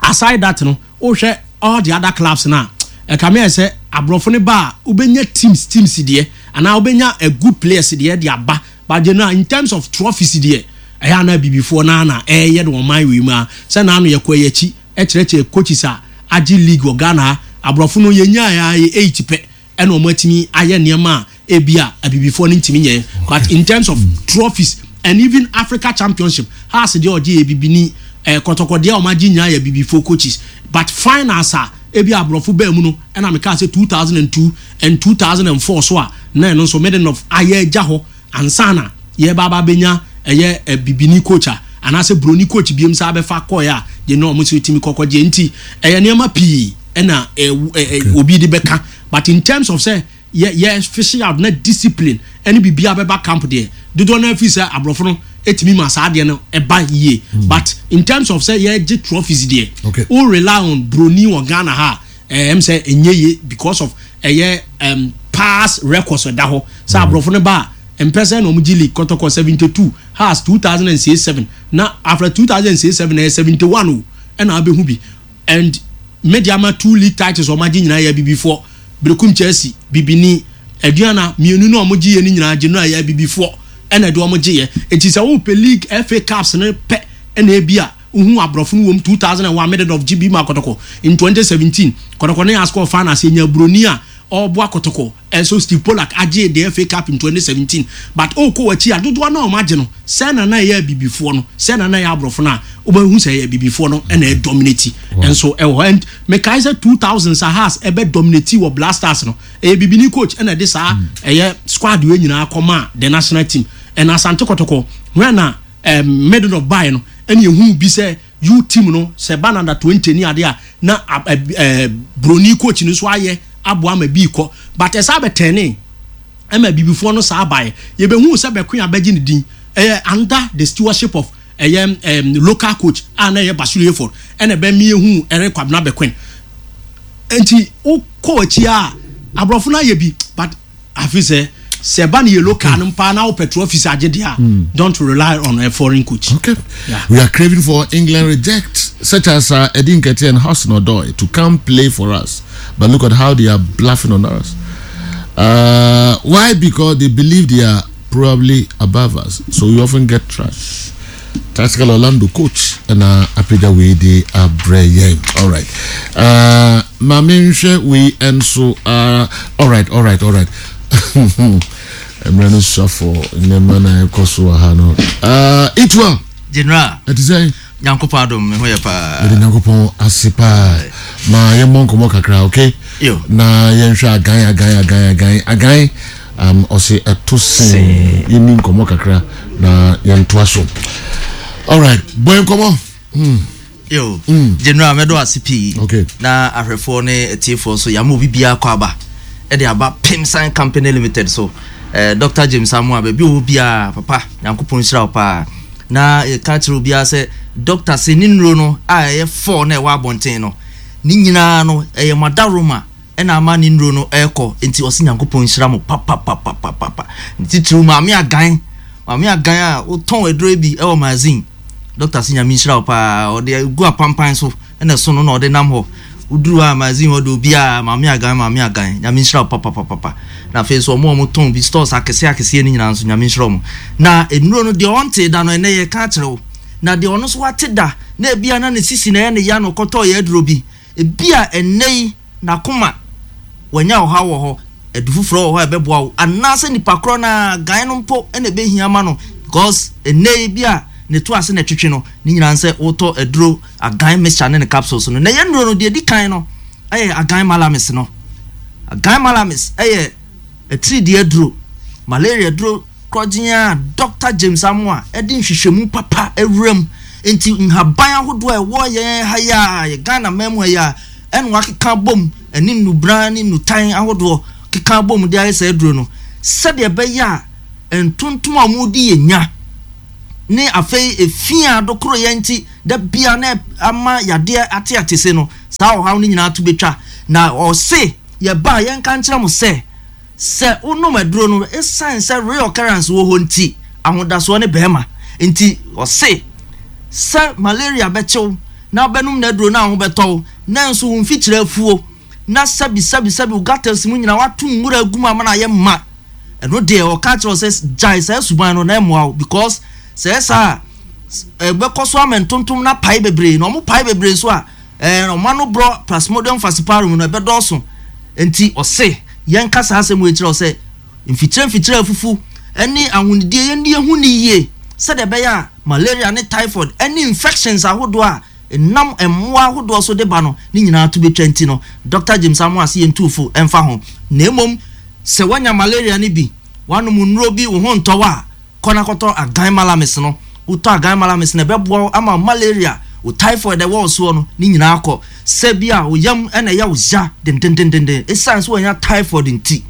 [SPEAKER 9] aside that no, wohwɛ all the other clubs na ɛka mi yɛ sɛ aborɔfo ne ba a, wobɛnya teams teams deɛ anaa wobɛnya a good players deɛ de aba, but general in terms of trophies deɛ, ɛyɛ ana bibifoɔ naa na ɛyɛ de wɔn man wei mu a sɛ naano yɛ kɔ yɛ akyi ɛkyerɛkyerɛ coaches a agye league wɔ Ghana ha. Aborɔfo no yɛnya yɛ eight pɛ ɛna wɔn atumi ayɛ nneɛma a ebi a abibifoɔ no ntumi nyɛ. But in terms of trophies and even Africa Championship, Hearts deɛ ɔgye yɛ bibini, ɛɛ Kɔtɔkɔ deɛ ɔmo agye nyinaa yɛ bibifoɔ coaches, but finals a ebi aborɔfo bɛɛ mu no, ɛna meka sɛ two thousand and two and two thousand and four so a na ɛno nso Middendorf ayɛ agya hɔ ansana yɛba aba bɛnya ɛyɛ ɛ bibini coach a anaasɛ broni coach biem sa abɛfa kɔɛ a deɛ na ɔmo nso timi kɔkɔ gye. Nti ɛyɛ nneɛma pii ɛna ɛ ɛ obi de bɛka, but in terms of sɛ yɛ yɛ fishing out na discipline ɛne biribi abɛba camp deɛ, dodoɔ naa fi sɛ aborɔfo no etumi ma saa adeɛ no ɛba yie, but in terms of sɛ yɛgye trophies deɛ,
[SPEAKER 2] Okay.
[SPEAKER 9] o rely on broni wɔ Ghana ha ɛɛ ɛm sɛ ɛnyɛ yie because of ɛyɛ ɛm past records ɛda hɔ sɛ aborɔfo no ba a mpɛ sɛ na ɔmo gye league. Kɔtɔkɔ seventy two, Hearts two thousand and six seven, na after two thousand and six seven ɛyɛ seventy one o ɛna abɛhu bi. And Medeama two league titles ɔmo agye nyinaa yɛ abibifoɔ, Berekum Chelsea bibini, Aduana mmienu na ɔmo gye yɛ no nyinaa gye no a yɛ abibifoɔ ɛna ɛde ɔmo gye yɛ. Eti sɛ wopɛ league, F A Cups ne pɛ ɛna ebi a wohu aborɔfo no wɔm two thousand and one Middendorf gye bi ma Kɔtɔkɔ. In twenty seventeen Kɔtɔkɔ ne ascore finals, yɛnya buroni a ɔboa Kɔtɔkɔ ɛnso Steve Pollack agye the F A Cup in twenty seventeen. But ɔkɔ w'akyi a, dodoɔ na ɔmo agye no sɛ na na ɛyɛ abibifoɔ no, sɛ na na ɛyɛ aborɔfo no a, wobɛhu sɛ ɛyɛ abibifoɔ no ɛna ɛdominate ɛnso ɛwɔ hɔ. And mekae sɛ two thousand sahas ɛbɛ dominate wɔ Black Stars no, ɛyɛ bibini coach ɛna ɛde saa ɛyɛ squad wei nyinaa kɔma the national team. Ɛna Asante Kɔtɔkɔ wɛn na ɛm Middendorf bae no, ɛna ehu bi sɛ u team no sɛ ba nanda twenty ni adeɛ a na ɛ ɛ broni coach no nso ayɛ aboa ama bi kɔ, but ɛsa abɛtɛne ɛma bibifoɔ no saa baeɛ. Yɛbɛhu sɛ bɛko abɛgye ne din ɛyɛ under the stewardship of ɛyɛ ɛm local coach a na ɛyɛ Basiru Hayford ɛna ɛbɛ mi ehu ɛrɛ Kwabena Bɛkwen. Nti wokɔ akyi a, aborɔfo no ayɛ bi, but afi sɛ sɛ ɛba ne yɛ local no mpa na wopɛ trophies agye deɛ a, don't rely on a foreign coach.
[SPEAKER 2] Okay.
[SPEAKER 9] Yeah.
[SPEAKER 2] We are craving for England reject such as uh, Eddie Nketiah and Hudson Odoi to come play for us. But look at how they are bluffing on us. Uh, why? Because they believe they are probably above us. So we often get trash. Tactical Orlando coach and uh, apagya wei de abrɛ yɛn. All right. Uh, Maame nhwɛ wei nso. Uh, all right, all right, all right. Mmerɛ no suafo nneɛma na ɛkɔ so wɔ ha no. Uh, Itua.
[SPEAKER 10] General.
[SPEAKER 2] Ɛte sɛ?
[SPEAKER 10] Nyankopɔn adom, me ho yɛ paa.
[SPEAKER 2] Mede Nyankopɔn ase paa. Ma yɛmmɔ nkɔmmɔ kakra, okay?
[SPEAKER 10] Yo.
[SPEAKER 2] Na yɛnhwɛ agan agan agan agan agan um, ɔse ɛto sen yɛni nkɔmmɔ kakra na yɛntoa so. Alright, bɔ nkɔmmɔ. Hmm.
[SPEAKER 10] Yo, General, mɛdɔ ase pii.
[SPEAKER 2] Okay.
[SPEAKER 10] Na ahwɛfoɔ ne atiefoɔ so, yɛama obi biara kɔ aba ɛde aba Pimsan Company Limited so. Eh, Doctor James Amoa, baabi a ɔwɔ biara, papa, Nyankopɔn nhyira wo paa. Na yɛka kyerɛ obiara sɛ doctor sɛ ne nnuro no a ɛyɛ four na ɛwɔ abɔnten no ne nyinaa no ɛyɛ madaroma ɛna ama ne nnuro no ɛrekɔ. Nti ɔsɛ Nyankopɔn nhyira mo papapapapapa. Titiriw Maame Agan, Maame Agan a wotɔn aduro bi ɛwɔ magazine, doctor sɛ Nyame nhyira wo paa. Ɔde gu apampan so ɛna ɛso no na ɔde nam hɔ woduru hɔ a magazine hɔ de obiara Maame Agan, Maame Agan, Nyame nhyira wo papapapapa. Na afei nso ɔmo a ɔmo tɔn bi stores akɛseɛ akɛseɛ no nyinaa nso, Nyame nhyira ɔmo. Na nnuro no deɛ ɔnte da no, ɛnɛ yɛka akyerɛ wo, na deɛ ɔno nso wate da na ebia na ne sisi na ɛyɛ ne ya no kɔtɔɔ yɛ aduro bi, ebia ɛnɛ yi n'akoma wanya ɔhaw wɔ hɔ, adu foforɔ wɔ hɔ a ɛbɛboa wo, anaasɛ nipa korɔ na gan no mpo ɛna ɛbɛhia ma no, because ɛnɛ yi bi a ne to ase na ɛtwitwi no ne nyinaa sɛ wotɔ aduro Agan mixture ne ne capsules no. Na ɛyɛ nnuro no deɛ ɛdi kan no ɛyɛ Agan Malamis no. Agan Malamis ɛyɛ atiridii aduro, malaria aduro korɔgyen a Doctor James Amoa ɛde nhwehwɛmu papa awura mu. Nti nhaban ahodoɔ a ɛwɔ yɛn ha yi a yɛ Ghana man mu ha yi a Ɛna wakeka bom ɛne nnubran ne nnutan ahodoɔ keka bom de ayɛ saa aduro no sɛdeɛ ɛbɛyɛ a ntontom a wɔdi yɛ nya ne afei efi a dokoro yɛn nti da bia na ama yadeɛ ate ate se no, saa ɔhaw no nyinaa to betwa. Na ɔse yɛba a yɛnka nkyerɛ mo sɛ sɛ wonom aduro no, ɛsiane sɛ reoccurrence wɔ hɔ nti, ahodasoɔ ne bɛrima nti, ɔse sɛ malaria bɛkyew na wobɛnom n'aduro no a ho bɛtɔw, na nso wo mfikyire afuo na sɛbi sɛbi sɛbi wo gutters mu nyinaa wato nwura agu mu ama no ayɛ ma, ɛno deɛ ɔka kyerɛ wo sɛ gyae saa suban no na ɛmmoa wo, because sɛ saa ɛbɛkɔ so ama ntontom na pae bebree, na ɔmo pae bebree so a ɛɛ ɔmo ano borɔ Plasmodium falciparum no ɛbɛdɔɔso. Nti ɔse yɛnka saa asɛm wei kyerɛ wo sɛ mfikyire mfikyire afufu ɛne ahonidie yɛn ehu ne yie, sɛdeɛ ɛbɛyɛ a malaria ne typhoid ɛne infections ahodoɔ a nam mmoa ahodoɔ so de ba no ne nyinaa to betwa. Nti no Doctor James Amoa se yɛn tuufo ɛmfa ho, na emom sɛ wanya malaria no bi, wanom nnuro bi, wo ho ntɔw a, kɔ na kɔtɔ Agan Malamis no. Wotɔ Agan Malamis no, ɛbɛboa wo ama malaria, wo typhoid ɛwɔ wo soɔ no ne nyinaa kɔ. Sɛ bi a wo yam ɛna ɛyɛ wo ya dendendenden ɛsiane sɛ wanya typhoid nti,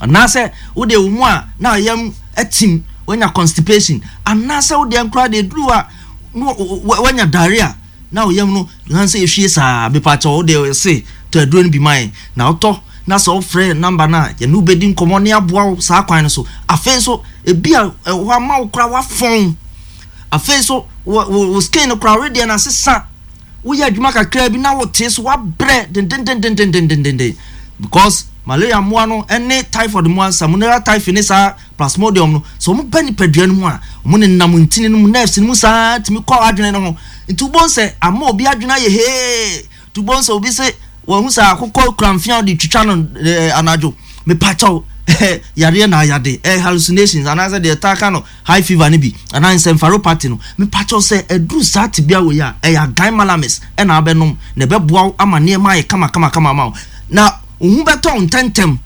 [SPEAKER 10] anaasɛ wode wo mu a na yam atim, wanya constipation, anaasɛ wode nkora de duru a wanya diarrhea na wo yam no nan sɛ ehwie saa, mepakyɛw, wode se tɔ aduro no bi ma yɛn. Na wotɔ na sɛ wofrɛ number no a, yɛne wobɛdi nkɔmmɔ ne aboa wo saa kwan no so. Afei nso ebi a ɛwɔ ama wo kora wafɔn, afei nso wo wo skin no kora wedeɛ no asesa, woyɛ adwuma kakra bi na wote so wabrɛ dendendendendendenden, because malaria mmoa no ne typhoid mmoa, Salmonella typhi ne saa Plasmodium no, sɛ wɔn ba nipadua no mu a, wɔn nenam ntini no mu, nerves no mu saa, tumi kɔ adwene no ho. Nti wobɔn sɛ ama obi adwene ayɛ hee, nti wobɔn sɛ obi sɛ wɔn ho sɛ akokɔ kura mfea de twitwa no ɛɛ anadwo. Mepakyɛw, yareɛ na ayade ɛɛ hallucinations anaasɛ deɛ ɛtaa ka no high fever no bi anaa encephalopathy no. Mepakyɛw, sɛ ɛduru saa tibia wɔ yi a, ɛyɛ Agan Malamis ɛna abɛnom na ɛbɛboa wo ama nneɛma ayɛ kama kama kama ama wo, na wo ho bɛtɔ wo ntɛntɛm,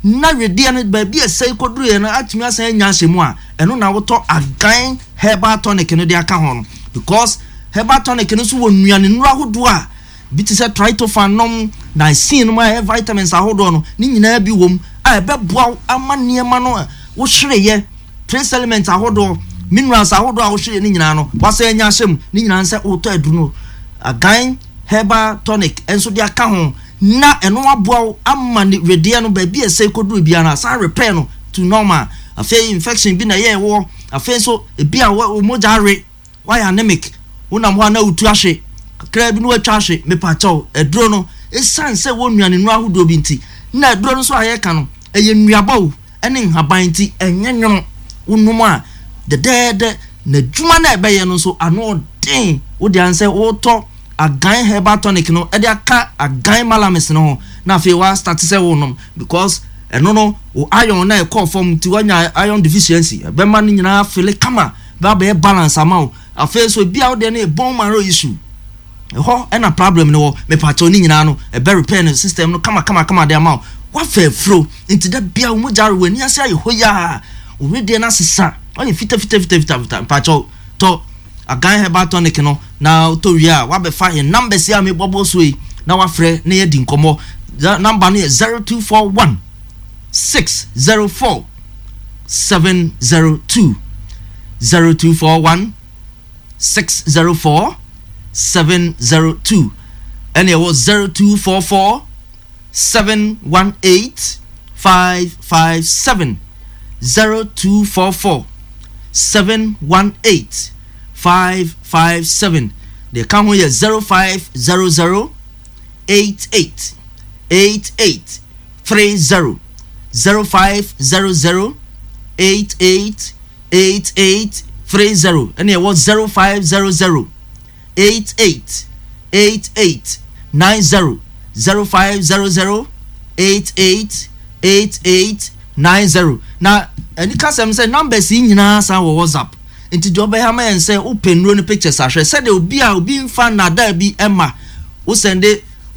[SPEAKER 10] na wedeɛ no baabi a ɛsɛe kɔduruiɛ no atumi asan anya ahyɛ mu a, ɛno na wotɔ Agan Herbal Tonic no de aka ho no, because herbal tonic no nso wɔ nnuane nnuro ahodoɔ a bi te sɛ tryptophan nom, niacin nom a ɛyɛ vitamins ahodoɔ no ne nyinaa bi wɔ mu a ɛbɛboa wo ama nneɛma no a wohwereyɛ, trace elements ahodoɔ, minerals ahodoɔ a wohwereyɛ ne nyinaa no wasan anya ahyɛ mu. Ne nyinaa sɛ wotɔ aduru no Agan Herbal Tonic nso de aka ho na ɛno aboa wo ama ne wedeɛ no baabi a ɛsɛ kɔduru biara no asan repair no to normal. Afei infection bi na ɛyɛ ɛwɔ, afei nso ebi a wo mogya awe, wayɛ anemic, wonam hɔ a na wotu ahwe kakra bi na watwa ahwe, mepakyɛw, aduro no ɛsiane sɛ wɔ nnuane nnuro ahodoɔ bi nti, na aduro no nso a yɛka no ɛyɛ nnuaba o ɛne nhaban nti ɛnyɛ nwono. Wonom a dɛdɛɛdɛ, na adwuma no a ɛbɛyɛ no nso ano ɔden. Wode ansɛ wotɔ Agan Herbal Tonic no ɛde aka Agan Malamis no ho na afei wa start sɛ wonom, because ɛno no wo iron na ɛkɔɔ fam nti wanya iron deficiency, ɛbɛma no nyinaa fele kama, bɛabɛyɛ balance ama wo. Afei nso ebi a wodeɛ no yɛ bone marrow issue, ɛhɔ ɛna problem no wɔ, mepakyɛw, ne nyinaa no ɛbɛ repair no system no kama kama kama de ama wo. Wafa afuro nti da bia wo mogya wɔ ani ase ayɛ hɔ yaa, wo wedeɛ no asesa, ɔyɛ fita fita fita fita fita, mepakyɛw, tɔ Agan Herbal Tonic no na wotɔ wie a, wabɛfa yɛn numbers yi a mebɔbɔ so yi na wafrɛ na yɛdi nkɔmmɔ. Number no yɛ zero two four one six zero four seven zero two, zero two four one six zero four seven zero two, ɛna ɛwɔ zero two four four seven one eight five five seven, zero two four four seven one eight five five seven. Deɛ ka ho yɛ zero five zero zero eight eight eight eight three zero, zero five zero zero eight eight eight eight three zero, ɛna ɛwɔ zero five zero zero eight eight eight eight nine zero, zero five zero zero eight eight eight eight nine zero. Na ɛni kasɛm sɛ numbers yi nyinaa san wɔ WhatsApp, nti deɛ ɔbɛyɛ ama yɛn sɛ wopɛ nnuro no pictures ahwɛ sɛdeɛ obi a obi nfa nnadaa bi ɛma wosend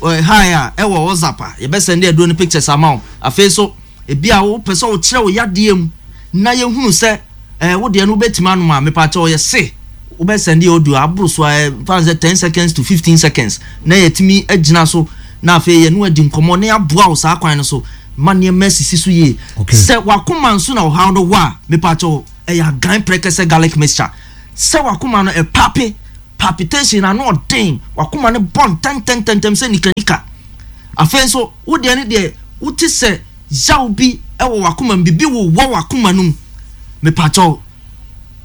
[SPEAKER 10] hi a ɛwɔ WhatsApp a, yɛbɛsend aduro no pictures ama wo. Afei so ebi a wopɛ sɛ wokyerɛ wo yadeɛ mu na yɛhunu sɛ ɛɛ wo deɛ no wobɛtumi anom a, mepakyɛ ɔyɛ se wobɛsend audio aboro so a ɛfa sɛ ten seconds to fifteen seconds na yɛtumi agyina so. Na afei yɛne adi nkɔmmɔ na yɛaboa wo saa kwan no so ma nneɛma asisi so yie. Sɛ wakoma nso na ɔhaw no wɔ a, mepakyɛw, ɛyɛ Agan Prɛkɛsɛ garlic mixture. Sɛ wakoma no ɛpape, palpitation, ano ɔden, wakoma no bɔ ntɛntɛntɛntɛm sɛ nikanika. Afei nso wo deɛ ne deɛ wote sɛ yaw bi wɔ wakoma mu, biribi wowɔ wakoma no mu, mepakyɛw,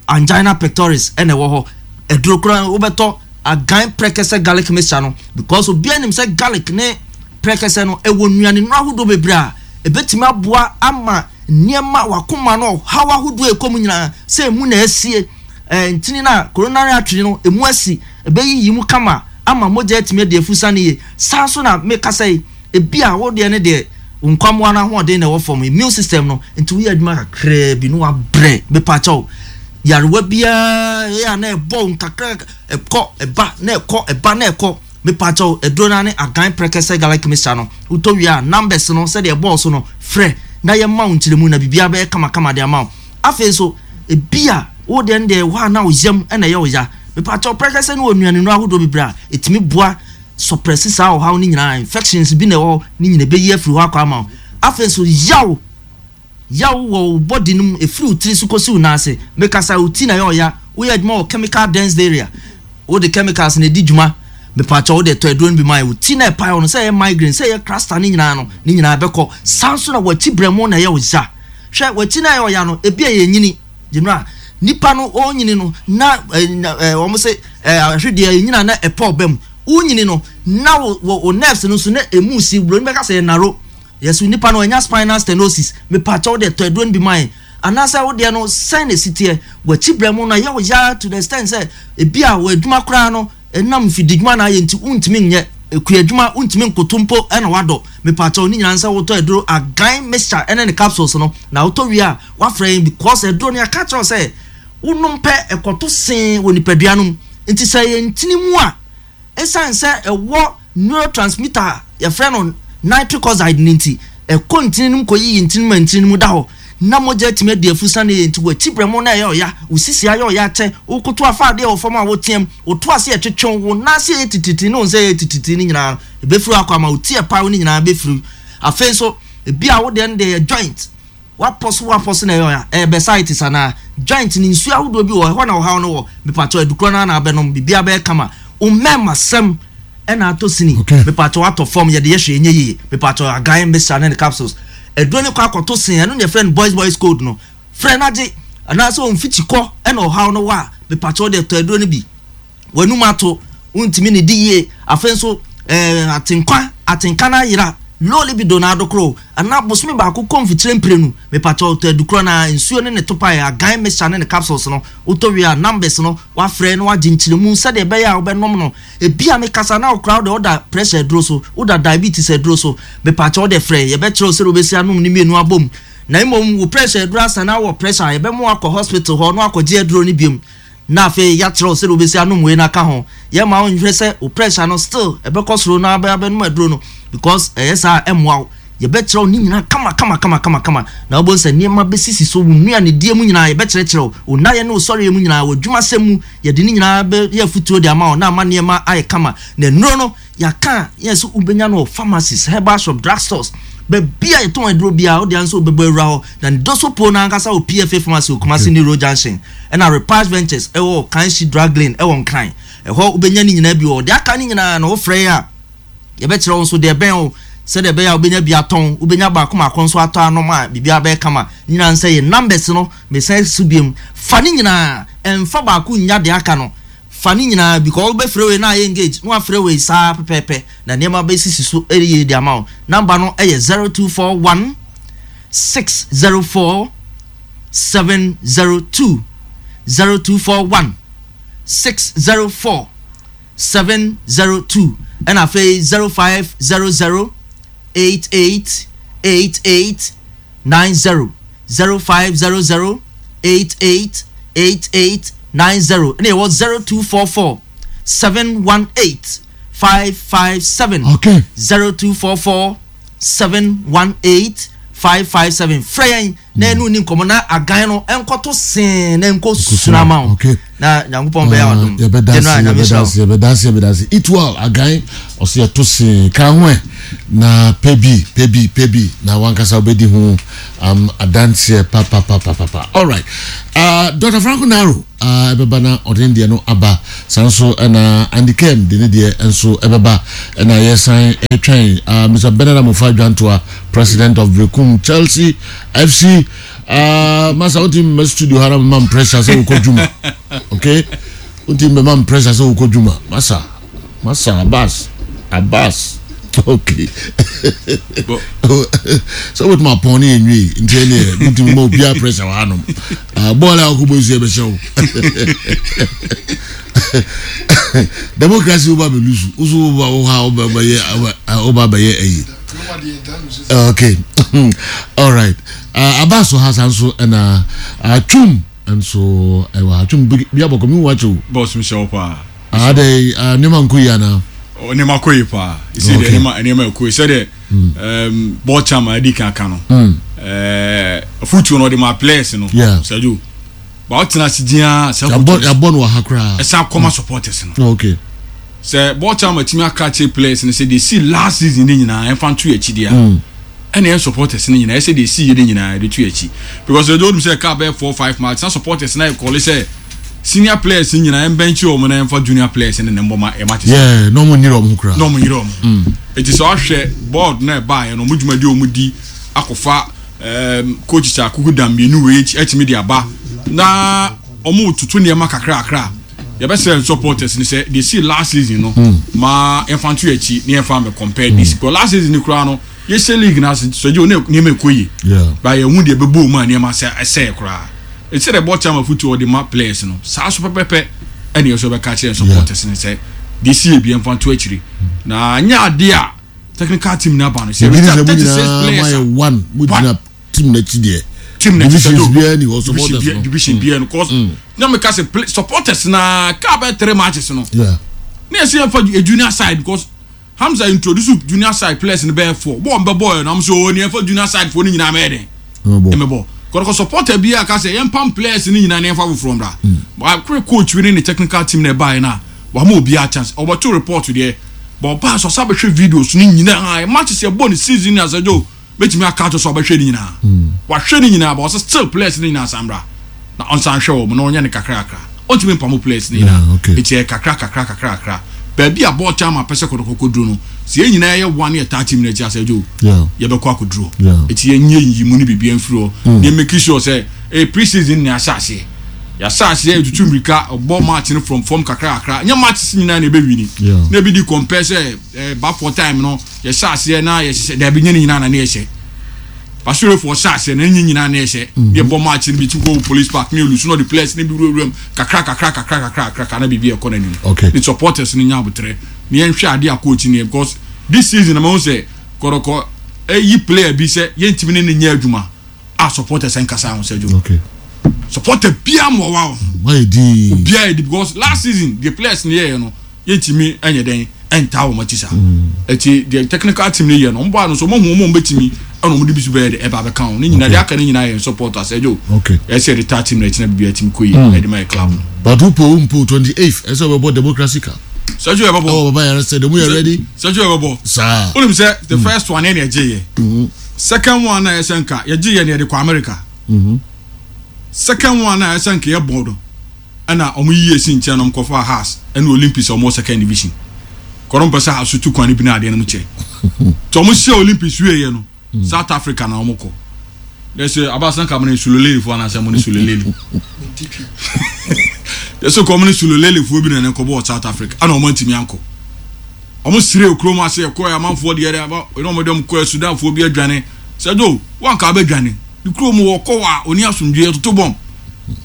[SPEAKER 10] angina pectoris ɛna ɛwɔ hɔ. Aduro koraa wobɛtɔ Agan Prɛkɛsɛ garlic mixture no, because obiara nim sɛ garlic ne prɛkɛsɛ no ɛwɔ nnuane nnuro ahodoɔ bebree a ɛbɛtumi aboa ama nneɛma wakoma no ɔhaw ahodoɔ a ɛkɔ mu nyinaa, sɛ emu na asie, ɛɛ ntini no a coronary artery no emu asi, ɛbɛyiyi mu kama ama mogya atumi adi afusa no yie. Saa nso na mekasa yi, ebi a wo deɛ ne deɛ wo nkwammoa no ahoɔden na ɛwɔ fam, immune system no nti, woyɛ adwuma kakraa bi na wabrɛ. Mepakyɛw, yarewa biara ɛyɛ a na ɛbɔ wo nkakra, ɛkɔ ɛba na ɛkɔ, ɛba na ɛkɔ, mepakyɛw, aduro no ne Agan Prɛkɛsɛ garlic mixture no. Wotɔ wie a, numbers no sɛdeɛ ɛbɔɔ so no, frɛ na yɛma wo nkyerɛmu na biribiara bɛyɛ kamakama de ama wo. Afei nso ebi a wo deɛ no deɛ hɔ a na wo yam ɛna ɛyɛ wo ya, mepakyɛw, prɛkɛsɛ no wɔ nnuane ahodoɔ bebree a ɛtumi boa suppress saa ɔhaw no nyinaa. Infections bi na ɛwɔ hɔ ne nyina ɛbɛyi afiri hɔ akɔ ama wo. Afei nso yaw yaw wɔ wo body no mu, ɛfiri wo tiri so kɔsi wo nan ase. Mekasa, wo ti na ɛyɛ ɔya, woyɛ adwuma wɔ chemical dense area, wode chemicals na ɛdi dwuma, mepakyɛ, wode tɔ aduro no bi ma yɛ, wo ti na ɛpae wo no, sɛ ɛyɛ migraine, sɛ ɛyɛ cluster ne nyinaa no, ne nyinaa bɛkɔ. Saa nso na wakyi brɛmo na ɛyɛ wo ya. Hwɛ, wakyi na ɛyɛ ɔya no, ebi a yɛ nyini gyina nipa no ɔnyini no na ɛɛ wɔn sɛ ɛɛ ahwedeɛ ɛnyina na ɛpɔ ɔbɛm. Wonyini no na wo wo nerves no nso na emu si, buroni bɛka sɛ narrow. Yɛsɛ nipa no ɔnya spinal stenosis, mepakyɛw, de tɔ aduro no bi ma yɛn. Anaasɛ wo deɛ no sɛn na esi teɛ, wakyi brɛ mu na yɛ wo ya to the extent sɛ ebi a wɔ adwuma koraa no, ɛnam mfididwuma na ayɛ nti wontumi nyɛ ekua adwuma, wontumi nkoto mpo ɛna wadɔ, mepakyɛw, ne nyinaa sɛ wotɔ aduro Agan mixture ɛne ne capsules no na wotɔ wie a, wafrɛ yɛn, because aduro no yɛaka kyerɛw sɛ wonom pɛ, ɛkɔto see wɔ nipadua no mu. Nti sɛ yɛ ntini mu a, ɛsiane sɛ ɛwɔ neurotransmitter a yɛfrɛ no nitric oxide ne nti, ɛkɔ ntini no mu kɔyiyi ntini mu ma ntini no mu da hɔ na mogya atumi adi afusa no yɛ. Nti wakyi brɛ mu na ɛyɛ ɔya, wo sisi ayɛ ɔya kyɛ, wokoto afa adeɛ wɔ fam a woteam, woto ase ɛtwetwe, wo nan ase yɛ tititi ne wo nsa yɛ tititi ne nyinaa ɛbɛfiri akɔ ama wo ti ɛpaw ne nyinaa bɛfiri. Afei nso ebi a wo deɛ no deɛ yɛ joint, wapɔ so wapɔ so na ɛyɛ ɔya, ɛyɛ bursitis anaa joint ne nsuo ahodoɔ bi wɔ ɛhɔ na ɔhaw no wɔ, mepatɔ, adukuro no ana abɛnom, biribiara bɛyɛ kama. Wo mmarima sɛm ɛna atɔ sini, mepatɔ, atɔ fam, yɛde yɛ hwɛ ɛnyɛ yie, mepatɔ, Agan mixture ne ne capsules aduro ne kɔ akɔto sen. Ɛno ne yɛfrɛ no boys boys code no. Frɛ no agye anaasɛ ɔmfikyi kɔ ɛna ɔhaw no wɔ a, mepatɔ, de tɔ aduro no bi. W'anum ato, wontumi ne di yie. Afei nso ɛɛ atenkwa atenka no ayera, low libido na adokoro anaa bosome baako kɔ mfikyire mprenu, mepatɔ, tɔ adukoro na nsuo ne ne topa yɛ Agan mixture ne ne capsules no. Wotɔ wie a, numbers no wafrɛ na wagye nkyerɛmu sɛdeɛ ɛbɛyɛ a wobɛnom no. Ebi a mekasa na wokora wode woda pressure aduro so, woda diabetes aduro so, mepatɔ, wode frɛ, yɛbɛkyerɛ wo sɛdeɛ wobɛsi anom ne mmienu abom. Na mmom wo pressure aduro asa na wɔ pressure a, yɛbɛma wakɔ hospital hɔ na wakɔgye aduro no biom na afei yɛakyerɛ wo sɛdeɛ wobɛsi anom wei no aka ho. Yɛma wo nhwɛ sɛ wo pressure no still ɛbɛkɔ soro na abɛnom aduro no, because ɛyɛ saa ɛmmoa wo. Yɛbɛkyerɛ wo ne nyinaa kama kama kama kama kama na wobɛhu sɛ nneɛma bɛsisi so. Wo nnuanedie mu nyinaa yɛbɛkyerɛkyerɛ wo, wo nayɛ ne wo sɔreɛ mu nyinaa, wɔ adwumasɛm mu, yɛde ne nyinaa bɛyɛ afotuo de ama wo na ama nneɛma ayɛ kama. Na nnuro no yɛaka a, yɛn sɛ wobɛnya no wɔ pharmacies, herbal shop, drug stores, baabi a yɛtɔn aduro biara wode nso wobɛbɔ awura hɔ. Na ne doso po no ankasa wɔ P F A Pharmacy wɔ Kumasi New Road Junction, ɛna Repage Ventures ɛwɔ Kanshi Drug Lane ɛwɔ Nkran. Ɛhɔ wobɛnya ne nyinaa bi wɔ. Deɛ aka ne nyinaa no, wofrɛ yɛ a, yɛbɛkyerɛ wo nso deɛ ɛbɛn wo sɛdeɛ ɛbɛyɛ a wobɛnya bi atɔn, wobɛnya baako maako nso atɔ anom a biribiara bɛyɛ kama. Nyinaa sɛ yɛ numbers no mesan so biom, fa ne nyinaa, ɛmfa baako nya deɛ aka no, fa ne nyinaa, because wobɛfrɛ wei na ayɛ engage na wafrɛ wei saa pɛpɛɛpɛ na nneɛma bɛsisi so ɛyɛ de ama wo. Number no ɛyɛ zero two four one six zero four seven zero two, zero two four one six zero four seven zero two, ɛna afei zero five zero zero eight eight eight eight nine zero, zero five zero zero eight eight eight eight nine zero, ɛna ɛwɔ zero two four four seven one eight five five seven.
[SPEAKER 2] Okay.
[SPEAKER 10] zero two four four seven one eight five five seven. Frɛ yɛn na ɛnu ni nkɔmɔ na agan no ɛnkɔto see na ɛnkɔ suna ma wo na Nyankopɔn bɛyɛ wadom.
[SPEAKER 2] Yɛbɛda ase, yɛbɛda ase, yɛbɛda ase. Eatwell agan ɔsɛ yɛto see ka ho ɛ na pɛ bi pɛ bi pɛ bi na wankasa wobɛdi ho um, adanseɛ papapapapa. Alright, uh, Doctor Franco Naro ɛbɛba uh, na ɔde ne deɛ no aba. Saa nso ɛna Andy Kem de ne deɛ nso ɛbɛba, ɛna yɛsan ɛtwɛn uh, Mister Bernard Amofa Dwantoa, president of Berekum Chelsea F C. uh, masa wontimi mmɛ studio ha na mema pressure sɛ wokɔ dwuma. Okay, wontimi mmɛma pressure sɛ wokɔ dwuma. Masa, masa Abbas, Abbas, okay, sɛ wobɛtumi apɔn ne yɛnwie nti ɛneɛ mentimi ma obiaa pressure wɔ hanom. Bɔɔl a wokɔbɔ nsu yɛbɛhyɛ wo democracy, woba bɛlusu woso woba wo ha woba bɛyɛ ayi. Okay, all right, uh, Abbas wɔ ha, saa nso ɛna uh, Twum nso ɛwɔ ha. Twum bi abɔkɔ mi wa kyɛw.
[SPEAKER 11] Boss, mi hyɛ wo paa.
[SPEAKER 2] Adɛ nneɛma nkɔ yi ana?
[SPEAKER 11] Nneɛma kɔ yi paa. Ɛsɛ deɛ nneɛma nneɛma ɛkɔ yi sɛdeɛ bɔɔl chairman adi kan ka no, afutuo no ɔde ma players no sɛjo ba ɔtena ase diaa sɛ
[SPEAKER 2] yabɔ no wɔ ha koraa.
[SPEAKER 11] Ɛsan kɔma supporters no.
[SPEAKER 2] Okay
[SPEAKER 11] sɛ bɔɔl chairman tumi aka kyerɛ players no sɛ deɛ si last season ne nyinaa ɛmfa nto yɛ akyi deɛ, ɛna yɛn supporters no nyinaa ɛsɛ deɛ si yɛ ne nyinaa yɛde to yɛ akyi, because ɛdɔ onim sɛ kaa bɛyɛ four five match na supporters na yɛ kɔle sɛ senior players nyinaa ɛmbɛnkyi wɔn na ɛmfa junior players ne ne mbɔ ma ɛma te
[SPEAKER 2] sɛ. Yeah, na ɔmo nyere ɔmo koraa.
[SPEAKER 11] Na ɔmo nyere ɔmo. Eti sɛ ɔhwɛ board na ɛbaa yɛ no, ɔmo dwumadi a ɔmo di akɔfa ɛɛm coach akuku dam mmienu wei ɛtumi de aba na ɔmo tutu nneɛma kakra kakra. Yɛbɛsɛ supporters ni sɛ de si last season no ma yɛmfa nto akyi ne yɛmfa mɛ compare this, because last season ni koraa no yɛhyɛ league na sɔgye o ne nneɛma ɛkɔ yie ba yɛn hu deɛ ɛbɛbɔ mu a nneɛma sɛ ɛsɛɛ koraa. Eti sɛ board chairman futu ɔde ma players no saa so pɛpɛpɛ, ɛna yɛ so bɛka kyerɛ supporters ni sɛ de si ebi yɛmfa nto akyiri na nyɛ adeɛ a technical team na ba no sɛ
[SPEAKER 2] ɛbi thirty six players a one mo gyina team n'akyi deɛ.
[SPEAKER 11] Team n'akyi.
[SPEAKER 2] Divisions biara ni hɔ, supporters no.
[SPEAKER 11] Division biara no, cause na mi ka sɛ supporters na kaa bɛ three matches no ne yɛ sɛ yɛn fa junior side, because Hamza introduce junior side players no bɛyɛ four bɔɔl mbɛ bɔɔl na mo so o ne yɛn fa junior side foɔ ne nyinaa mɛyɛ dɛ ɛmɛ bɔ kɔrɔkɔ. Supporter bi a ka sɛ yɛn pam players ne nyinaa ne yɛn fa foforɔ mbra akore coach bi ne ne technical team na ɛbaa yɛn na wàá obi a chance ɔbɛto report deɛ bɔn ɔbaa sɔ ɔsa bɛhwɛ videos ne nyinaa matches yɛ bɔ ne season ne asɛdwo bɛtumi aka ato so ɔbɛhwɛ ne nyinaa, wahwɛ ne nyinaa ba ɔsɛ still players ne nyinaa san bra na ɔnsan hwɛ wɔn na ɔnyɛ ne kakra kakra. Ɔntumi mpamo players ne nyinaa, eti yɛ kakra kakra kakra kakra. Baabi a bɔɔl chairman pɛ sɛ kɔtɔkɔ kɔduro no, sɛ yɛn nyinaa yɛ one yɛ taa team n'akyi asɛdwo yɛbɛkɔ akɔduro. Eti yɛn nye yiyi mu ne biribi mfiri hɔ ne yɛn make sure sɛ ee pre-season ne ahyɛ aseɛ, yɛahyɛ aseɛ etutu mirika ɔbɔ match no from fam kakra kakra. Nyɛ match nyinaa na ebe wini na ebi di compare sɛ ɛɛ bafo time no yɛhyɛ aseɛ na yɛhyehyɛ dabi nye ne nyinaa na ne yɛhyɛ basorefo ɔhyɛ aseɛ na nye nyinaa na yɛhyɛ ne yɛbɔ match no bi ti kɔ Police Park ne olusu na ɔde players ne bi wurawura mu kakra kakra kakra kakra kakra na biribi ɛkɔ n'anim.
[SPEAKER 2] Okay.
[SPEAKER 11] Ne supporters ne nya abotire ne yɛnhwɛ adeɛ a coach ne yɛ, because this season na ma ho sɛ kɔrɔkɔ eyi player bi sɛ yɛntumi ne ne nyɛ adwuma a supporters nkasa ho sɛ dwo
[SPEAKER 2] okay
[SPEAKER 11] supporter bia ma ɔwa ho.
[SPEAKER 2] Wayɛ dii.
[SPEAKER 11] Obiara yɛ di, because last season the players ne yɛyɛ no yɛntumi ɛnyɛ dɛn ɛntaa wɔn akyi saa. Eti the technical team ne yɛ no, ɔmo bɔ ano so ɔmo hu ɔmo bɛtumi ɛna ɔmo de bi so bɛyɛ de ɛba abɛka ho ne nyinaa de aka ne nyinaa yɛ supporters ɛdwo
[SPEAKER 2] okay
[SPEAKER 11] ɛsɛ yɛde taa team na ɛkyina bibi ɛtumi kɔ yie ɛde ma yɛ club no.
[SPEAKER 2] But wo mpo twenty eighth ɛsɛ ɔbɛbɔ Democracy Cup.
[SPEAKER 11] Sɛjú yɛ bɛbɔ.
[SPEAKER 2] Ɛwɔ Baba Yara sɛ demu yɛ ready.
[SPEAKER 11] Sɛjú yɛ bɛbɔ.
[SPEAKER 2] Saa.
[SPEAKER 11] Onim sɛ the first one yɛ na yɛgye yɛ, second one na yɛsɛ nka yɛgye yɛ na yɛde kɔ America. Second one na yɛsɛ nka yɛ bɔ no ɛna ɔmo yiye si nkyɛn na ɔmo kɔfa Hearts ɛna Olympics a ɔmo wɔ second division kɔrɔ mpɛ sɛ Hearts tu kwan bi na adeɛ no mo kyɛ tí ɔmo hyɛ Olympics wie yɛ no South Africa na ɔmo kɔ yɛsɛ abasan ka mo ne Sulolele fo anaasɛ mo ne Sulolele yɛsɛ kɔ ɔmo ne Sulolele fo bi na ne kɔ bɔ South Africa ɛna ɔmo ntumi ankɔ. Ɔmo sire kurom ase ɛkɔ yɛ amanfoɔ deɛ ɛdɛ aba ɛna ɔmo de ɔmo kɔ Sudanfoɔ bi adwane sɛdo wanka abɛdwane ne kurom wɔ kɔ a oni asomdwe ɛtoto bɔm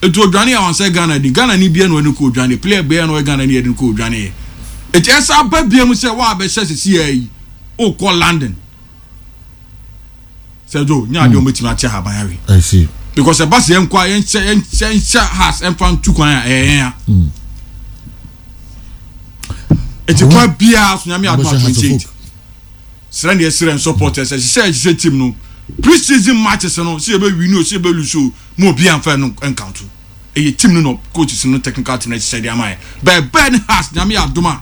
[SPEAKER 11] etu odwane a wɔn sɛ Ghana ni Ghana ni bia na ɔne kɔ odwane player bia na ɔyɛ Ghana ni yɛde kɔ odwane yɛ eti ɛsɛ aba bia mu sɛ wɔn abɛhyɛ sisi yɛ yi okɔ London sɛdo nyɛ adeɛ wɔn bɛtumi akyɛ haban awie.
[SPEAKER 2] I see.
[SPEAKER 11] Because ɛba sɛ yɛn kɔ a yɛn hyɛ yɛn hyɛ yɛn hyɛ Hearts ɛnfa ntu kwan a ɛyɛ yɛn a eti kwan biara so Nyame adum a twenty eight srɛ ne yɛsrɛ supporters ɛhyehyɛ ɛhyehyɛ team no Pre-season matches no, sɛ yɛbɛ win o, sɛ yɛbɛ lose o, mo obi anfa no nkanto. Ɛyɛ team no no coaches no, technical team no ɛhyehyɛ de ama yɛ. Bɛɛ bɛɛ ne Hearts, Nyame yɛ adom a,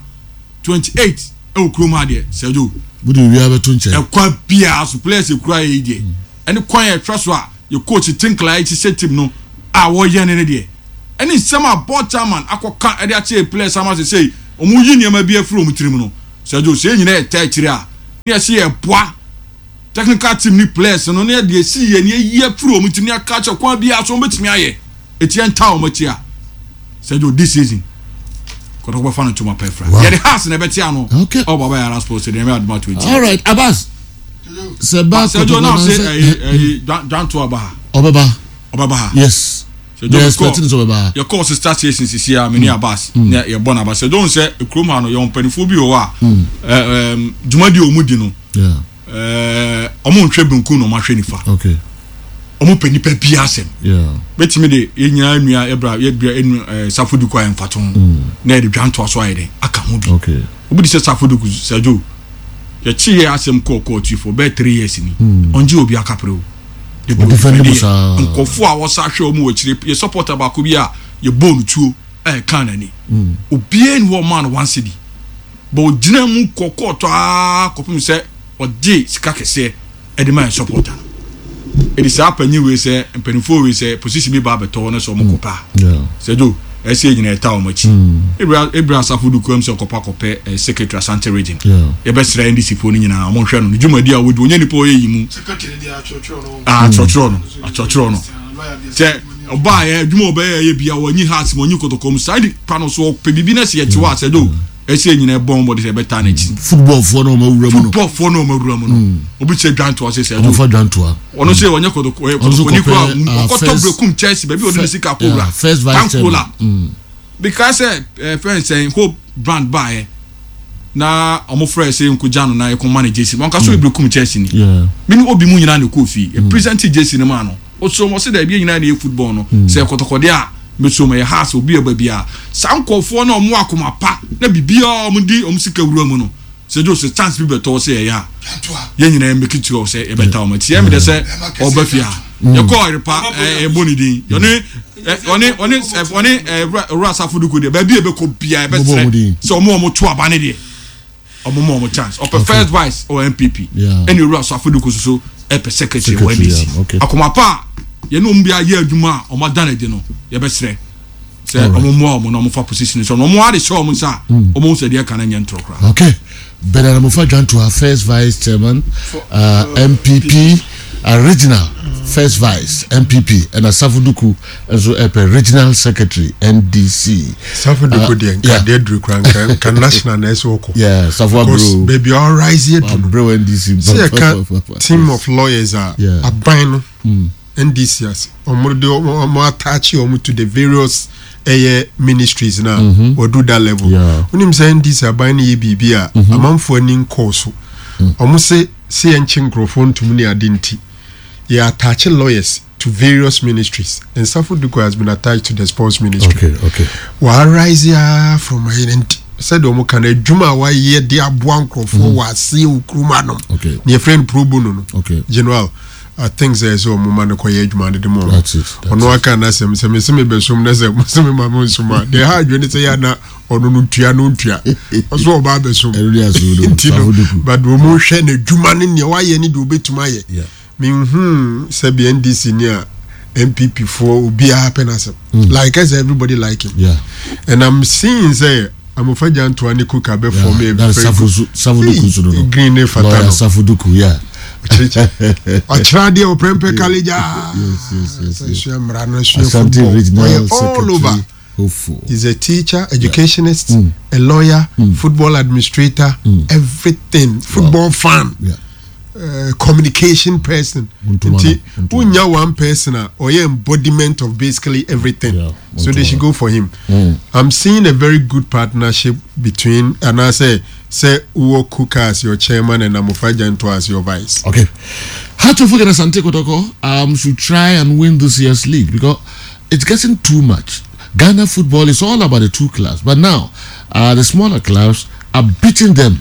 [SPEAKER 11] twenty eight ɛwɔ kurom ha deɛ, Sɛdo.
[SPEAKER 2] Wode wia bɛto nkyɛn.
[SPEAKER 11] Ɛkwan biara so, players ekura yɛ yi deɛ, ɛne kwan yɛ ɛhwɛ so a yɛ coach Tinkler ɛhyehyɛ team no a wɔyɛ ne ne deɛ, ɛne nsɛm a board chairman akɔka ɛde akyɛ players ama sɛ sɛ wɔn yi nneɛma bi afiri wɔn tirim no, Sɛdo, sɛ yɛn nyinaa yɛ tɛ akyire a, ne yɛsi yɛ boa technical team ni players no, ne yɛde esi yɛ ne yɛyi afiri wɔn tirim ne aka kyɛ kwan biara so wɔn bɛtumi ayɛ eti yɛn ta wɔn akyi a, Sɛdo, this season Kɔtɔkɔ bɛfa no ntoma pɛ fira. Yɛde Hearts na ɛbɛte ano.
[SPEAKER 2] Okay.
[SPEAKER 11] Ɔbɔ Baba Yara Sports Stadium, ɛbɛ aduma twenty.
[SPEAKER 2] All right, Abbas, sɛ ba
[SPEAKER 11] Sɛdo na ɔsɛ ɛyi ɛyi dwanto aba ha.
[SPEAKER 2] Ɔbɛba.
[SPEAKER 11] Ɔbɛba ha.
[SPEAKER 2] Yes, yɛ expecting sɛ ɔbɛba ha.
[SPEAKER 11] Yɛkɔɔ sister station sisi a mene Abbas ne yɛbɔ n'aba. Sɛdo n sɛ kurom ha no, yɛwɔ mpanimfoɔ bi wɔ hɔ a ɛɛ ɛɛm dwumadi a wɔn di no,
[SPEAKER 2] Yeah.
[SPEAKER 11] ɛɛ ɔmo nhwɛ benkum na ɔmo ahwɛ nifa.
[SPEAKER 2] Okay.
[SPEAKER 11] Ɔmo pɛ nipa bi asɛm.
[SPEAKER 2] Yeah.
[SPEAKER 11] Bɛtumi de yɛn nyinaa nua yɛbra yɛbra enu ɛɛ Safo Duku ayɛ mfato ho na yɛde dwantoa so ayɛ dɛ aka ho bi.
[SPEAKER 2] Okay.
[SPEAKER 11] Obi de sɛ Safo Duku, Sɛdo, yɛkyi yɛ asɛm kɔɔ kɔɔtu for bɛɛ three years ni, ɔngye obi akapere o. Debi.
[SPEAKER 2] Ɔdefend mu saa.
[SPEAKER 11] Nkɔfo a wɔsa hwɛ wɔn wɔ akyire, yɛ supporter baako bi a yɛbɔɔ no tuo ɛyɛ kan n'ani, obiara ni hɔ ɔmaa no one cedi, but ogyina mu kɔ kɔɔtɔ aa kɔpem sɛ ɔgye sika kɛseɛ ɛde ma yɛ supporter no. Ɛdi saa panyin wei sɛ mpanimfoɔ wei sɛ position bi ba abɛtɔ hɔ no sɛ ɔmo kɔ paa.
[SPEAKER 2] Yeah.
[SPEAKER 11] Sɛdo, ɛsɛ yɛ nyinaa ɛta wɔn akyi. Ebira ebira Asafo Duku ɛm sɛ ɔkɔpa kɔpɛ ɛ secretary Asante Region.
[SPEAKER 2] Yeah.
[SPEAKER 11] Yɛbɛsrɛ N D C foɔ no nyinaa, ɔmo nhwɛ no ne dwumadi a wɔdi, onye nipa ɔyɛ yi mu.
[SPEAKER 12] Secretary de atwerɛtwerɛ no.
[SPEAKER 11] Ah, atwerɛtwerɛ no, atwerɛtwerɛ no sɛ ɔbaa yɛ adwuma a ɔbɛyɛ yɛ bia wɔnyi Hearts mu, ɔnyi Kɔtɔkɔ mu, saa nipa no so ɔpɛ biribi na sɛ yɛte hɔ a, Sɛdo, ɛsɛ yɛ nyinaa ɛbɔn bɔde sɛ ɛbɛtaa n'akyi.
[SPEAKER 2] Football foɔ na ɔmo awura mu no.
[SPEAKER 11] Football foɔ na ɔmo awura mu no, obi kyerɛ dwantoa sɛ sɛ
[SPEAKER 2] Ɔmo fa dwantoa.
[SPEAKER 11] Ɔno sɛ ɔnyɛ Kɔtɔkɔ, ɔyɛ
[SPEAKER 2] Ɔno nso
[SPEAKER 11] Kɔtɔkɔni
[SPEAKER 2] kɔpɛ,
[SPEAKER 11] kora
[SPEAKER 2] ah,
[SPEAKER 11] ɔkɔtɔ
[SPEAKER 2] first-
[SPEAKER 11] Brekum Chelsea baabi a ɔde ne sika kɔwura.
[SPEAKER 2] Yeah, first vice
[SPEAKER 11] Tankola.
[SPEAKER 2] chairman. Mm.
[SPEAKER 11] Because sɛ ɛɛ fɛn sɛn Hope brand baayɛ na ɔmo frɛ sɛ nkogya no na yɛkɔ ma ne jersey, wɔn kaso Brekum Chelsea ni.
[SPEAKER 2] Yeah.
[SPEAKER 11] Mi ni obi mu nyinaa na ɛkɔɔ fie yɛ present jersey no ma no, ɔsɔ mo ɔsɛ dɛ ebi nyinaa na yɛ football no sɛ Kɔtɔkɔdeɛ a mesom ɛyɛ Hearts, obi ɛba bi a saa nkɔfoɔ na ɔmo akoma pa na biribiara ɔmo di ɔmo sika wura mu no, sɛ jo sɛ chance bi bɛtɔ sɛ ɛyɛ a, yɛn nyinaa make sure sɛ yɛbɛta ɔmo akyi. Ɛmi dɛ sɛ ɔba fie a yɛkɔ ɔrepa ɛbɔ ne din, ɔne ɔne ɔne ɔne ɛwura ɛwura Asafo Duku deɛ, baabi a ɛbɛkɔ bia
[SPEAKER 2] Ɔbɛbɔ ɔmo din.
[SPEAKER 11] ɛbɛsrɛ sɛ ɔmo a ɔmo to aba ne deɛ, ɔmo ma ɔmo chance. Ɔpɛ first vice ɔwɔ N P P,
[SPEAKER 2] Yeah.
[SPEAKER 11] ɛna ewura Asafo Duku soso ɛpɛ secretary wɔ
[SPEAKER 2] Secretary,
[SPEAKER 11] N D C.
[SPEAKER 2] yeah, okay.
[SPEAKER 11] Akoma pa a yɛne ɔmo bi ayɛ adwuma a ɔmo ada n'adi no, yɛbɛsrɛ sɛ
[SPEAKER 2] Alright.
[SPEAKER 11] ɔmo mmoa ɔmo na ɔmo fa position so na ɔmo ade hyɛ ɔmo nsa a, ɔmo ho sɛ deɛ ɛka no nyɛ ntorɔ koraa.
[SPEAKER 2] Okay. Bernard Amofa Dwantoa, first vice chairman, uh, N P P, uh, regional first vice N P P, and Asafo Duku, nso ɛpɛ regional secretary N D C.
[SPEAKER 8] Safo Duku deɛ, nka
[SPEAKER 2] yeah.
[SPEAKER 8] deɛ duru kora nka nka national na ɛsɛ wɔkɔ.
[SPEAKER 2] Yeah, Safo
[SPEAKER 8] Because
[SPEAKER 2] Abro.
[SPEAKER 8] baabi a ɔrise yɛ duru no,
[SPEAKER 2] Abro N D C.
[SPEAKER 8] Sɛ yɛka team of lawyers a
[SPEAKER 2] Yeah.
[SPEAKER 8] aban no N D C ase ɔmo de ɔmo ɔmo attach ɔmo to the various ɛyɛ ministries na wɔdu that level.
[SPEAKER 2] Yeah.
[SPEAKER 8] Wonim sɛ N D C aban no yɛ biribi a amanfoɔ ani nkɔɔ so, ɔmo se se yɛnkye nkurɔfoɔ ntom ne ade, nti yɛ attach lawyers to various ministries, and Safo Duku has been attached to the sports ministry.
[SPEAKER 2] Okay, okay.
[SPEAKER 8] Wɔarise a from ayɛ nti sɛdeɛ ɔmo ka no, adwuma a wayɛ de aboa nkurɔfoɔ wɔ aseɛ wɔ kurom anom
[SPEAKER 2] Okay.
[SPEAKER 8] ne yɛfrɛ no pro bono no.
[SPEAKER 2] Okay.
[SPEAKER 8] General, I think sɛ ɛsɛ ɔmo ma no kɔyɛ adwuma no de ma ɔmo.
[SPEAKER 2] That's it, that's
[SPEAKER 8] Ɔno aka n'asɛm sɛ mese mebɛsom na sɛ mose me ma me nsom a deɛ ha adwene sɛ yɛ ana ɔno no ntua no ntua ɔso ɔba abɛsom.
[SPEAKER 2] Ɛno de asom no,
[SPEAKER 8] nti no
[SPEAKER 2] Safo Duku.
[SPEAKER 8] But ɔmo hwɛ n'adwuma ne nea wayɛ ne deɛ obɛtumi ayɛ.
[SPEAKER 2] Yeah.
[SPEAKER 8] Menhu sɛbi N D C ni a N P P foɔ obiara pɛ n'asɛm, like I say, everybody like him.
[SPEAKER 2] Yeah.
[SPEAKER 8] And I'm seeing sɛ Amofa Gyantoa ne Kuka bɛ form a
[SPEAKER 2] That's
[SPEAKER 8] very
[SPEAKER 2] Safo
[SPEAKER 8] good
[SPEAKER 2] Safo Duku nso no no.
[SPEAKER 8] Green ne fata
[SPEAKER 2] Lawyer
[SPEAKER 8] no.
[SPEAKER 2] Safo Duku, yeah.
[SPEAKER 8] Ɔkyerɛ adeɛ wɔ Prempeh College a
[SPEAKER 2] Yes, yes, yes, yes.
[SPEAKER 8] sua mmara no, sua
[SPEAKER 2] Asante
[SPEAKER 8] football.
[SPEAKER 2] regional
[SPEAKER 8] Ɔyɛ all over.
[SPEAKER 2] secretary hopeful.
[SPEAKER 8] He's a teacher, educationist, a lawyer, football administrator, everything. Football fan,
[SPEAKER 2] Yeah.
[SPEAKER 8] uh, communication person.
[SPEAKER 2] Ntoma
[SPEAKER 8] Nti
[SPEAKER 2] no, ntoma.
[SPEAKER 8] wonya one person a ɔyɛ embodiment of basically everything.
[SPEAKER 2] Yeah,
[SPEAKER 8] so they should
[SPEAKER 2] ntoma.
[SPEAKER 8] go for him.
[SPEAKER 2] Mm.
[SPEAKER 8] I'm seeing a very good partnership between and I say say wowɔ Kuka as your chairman and Amofa Gyantoa as your vice.
[SPEAKER 2] Okay. How to forget Asante Kotoko um, should try and win this year's league because it's getting too much. Ghana football is all about the two clubs, but now uh, the smaller clubs are beating them.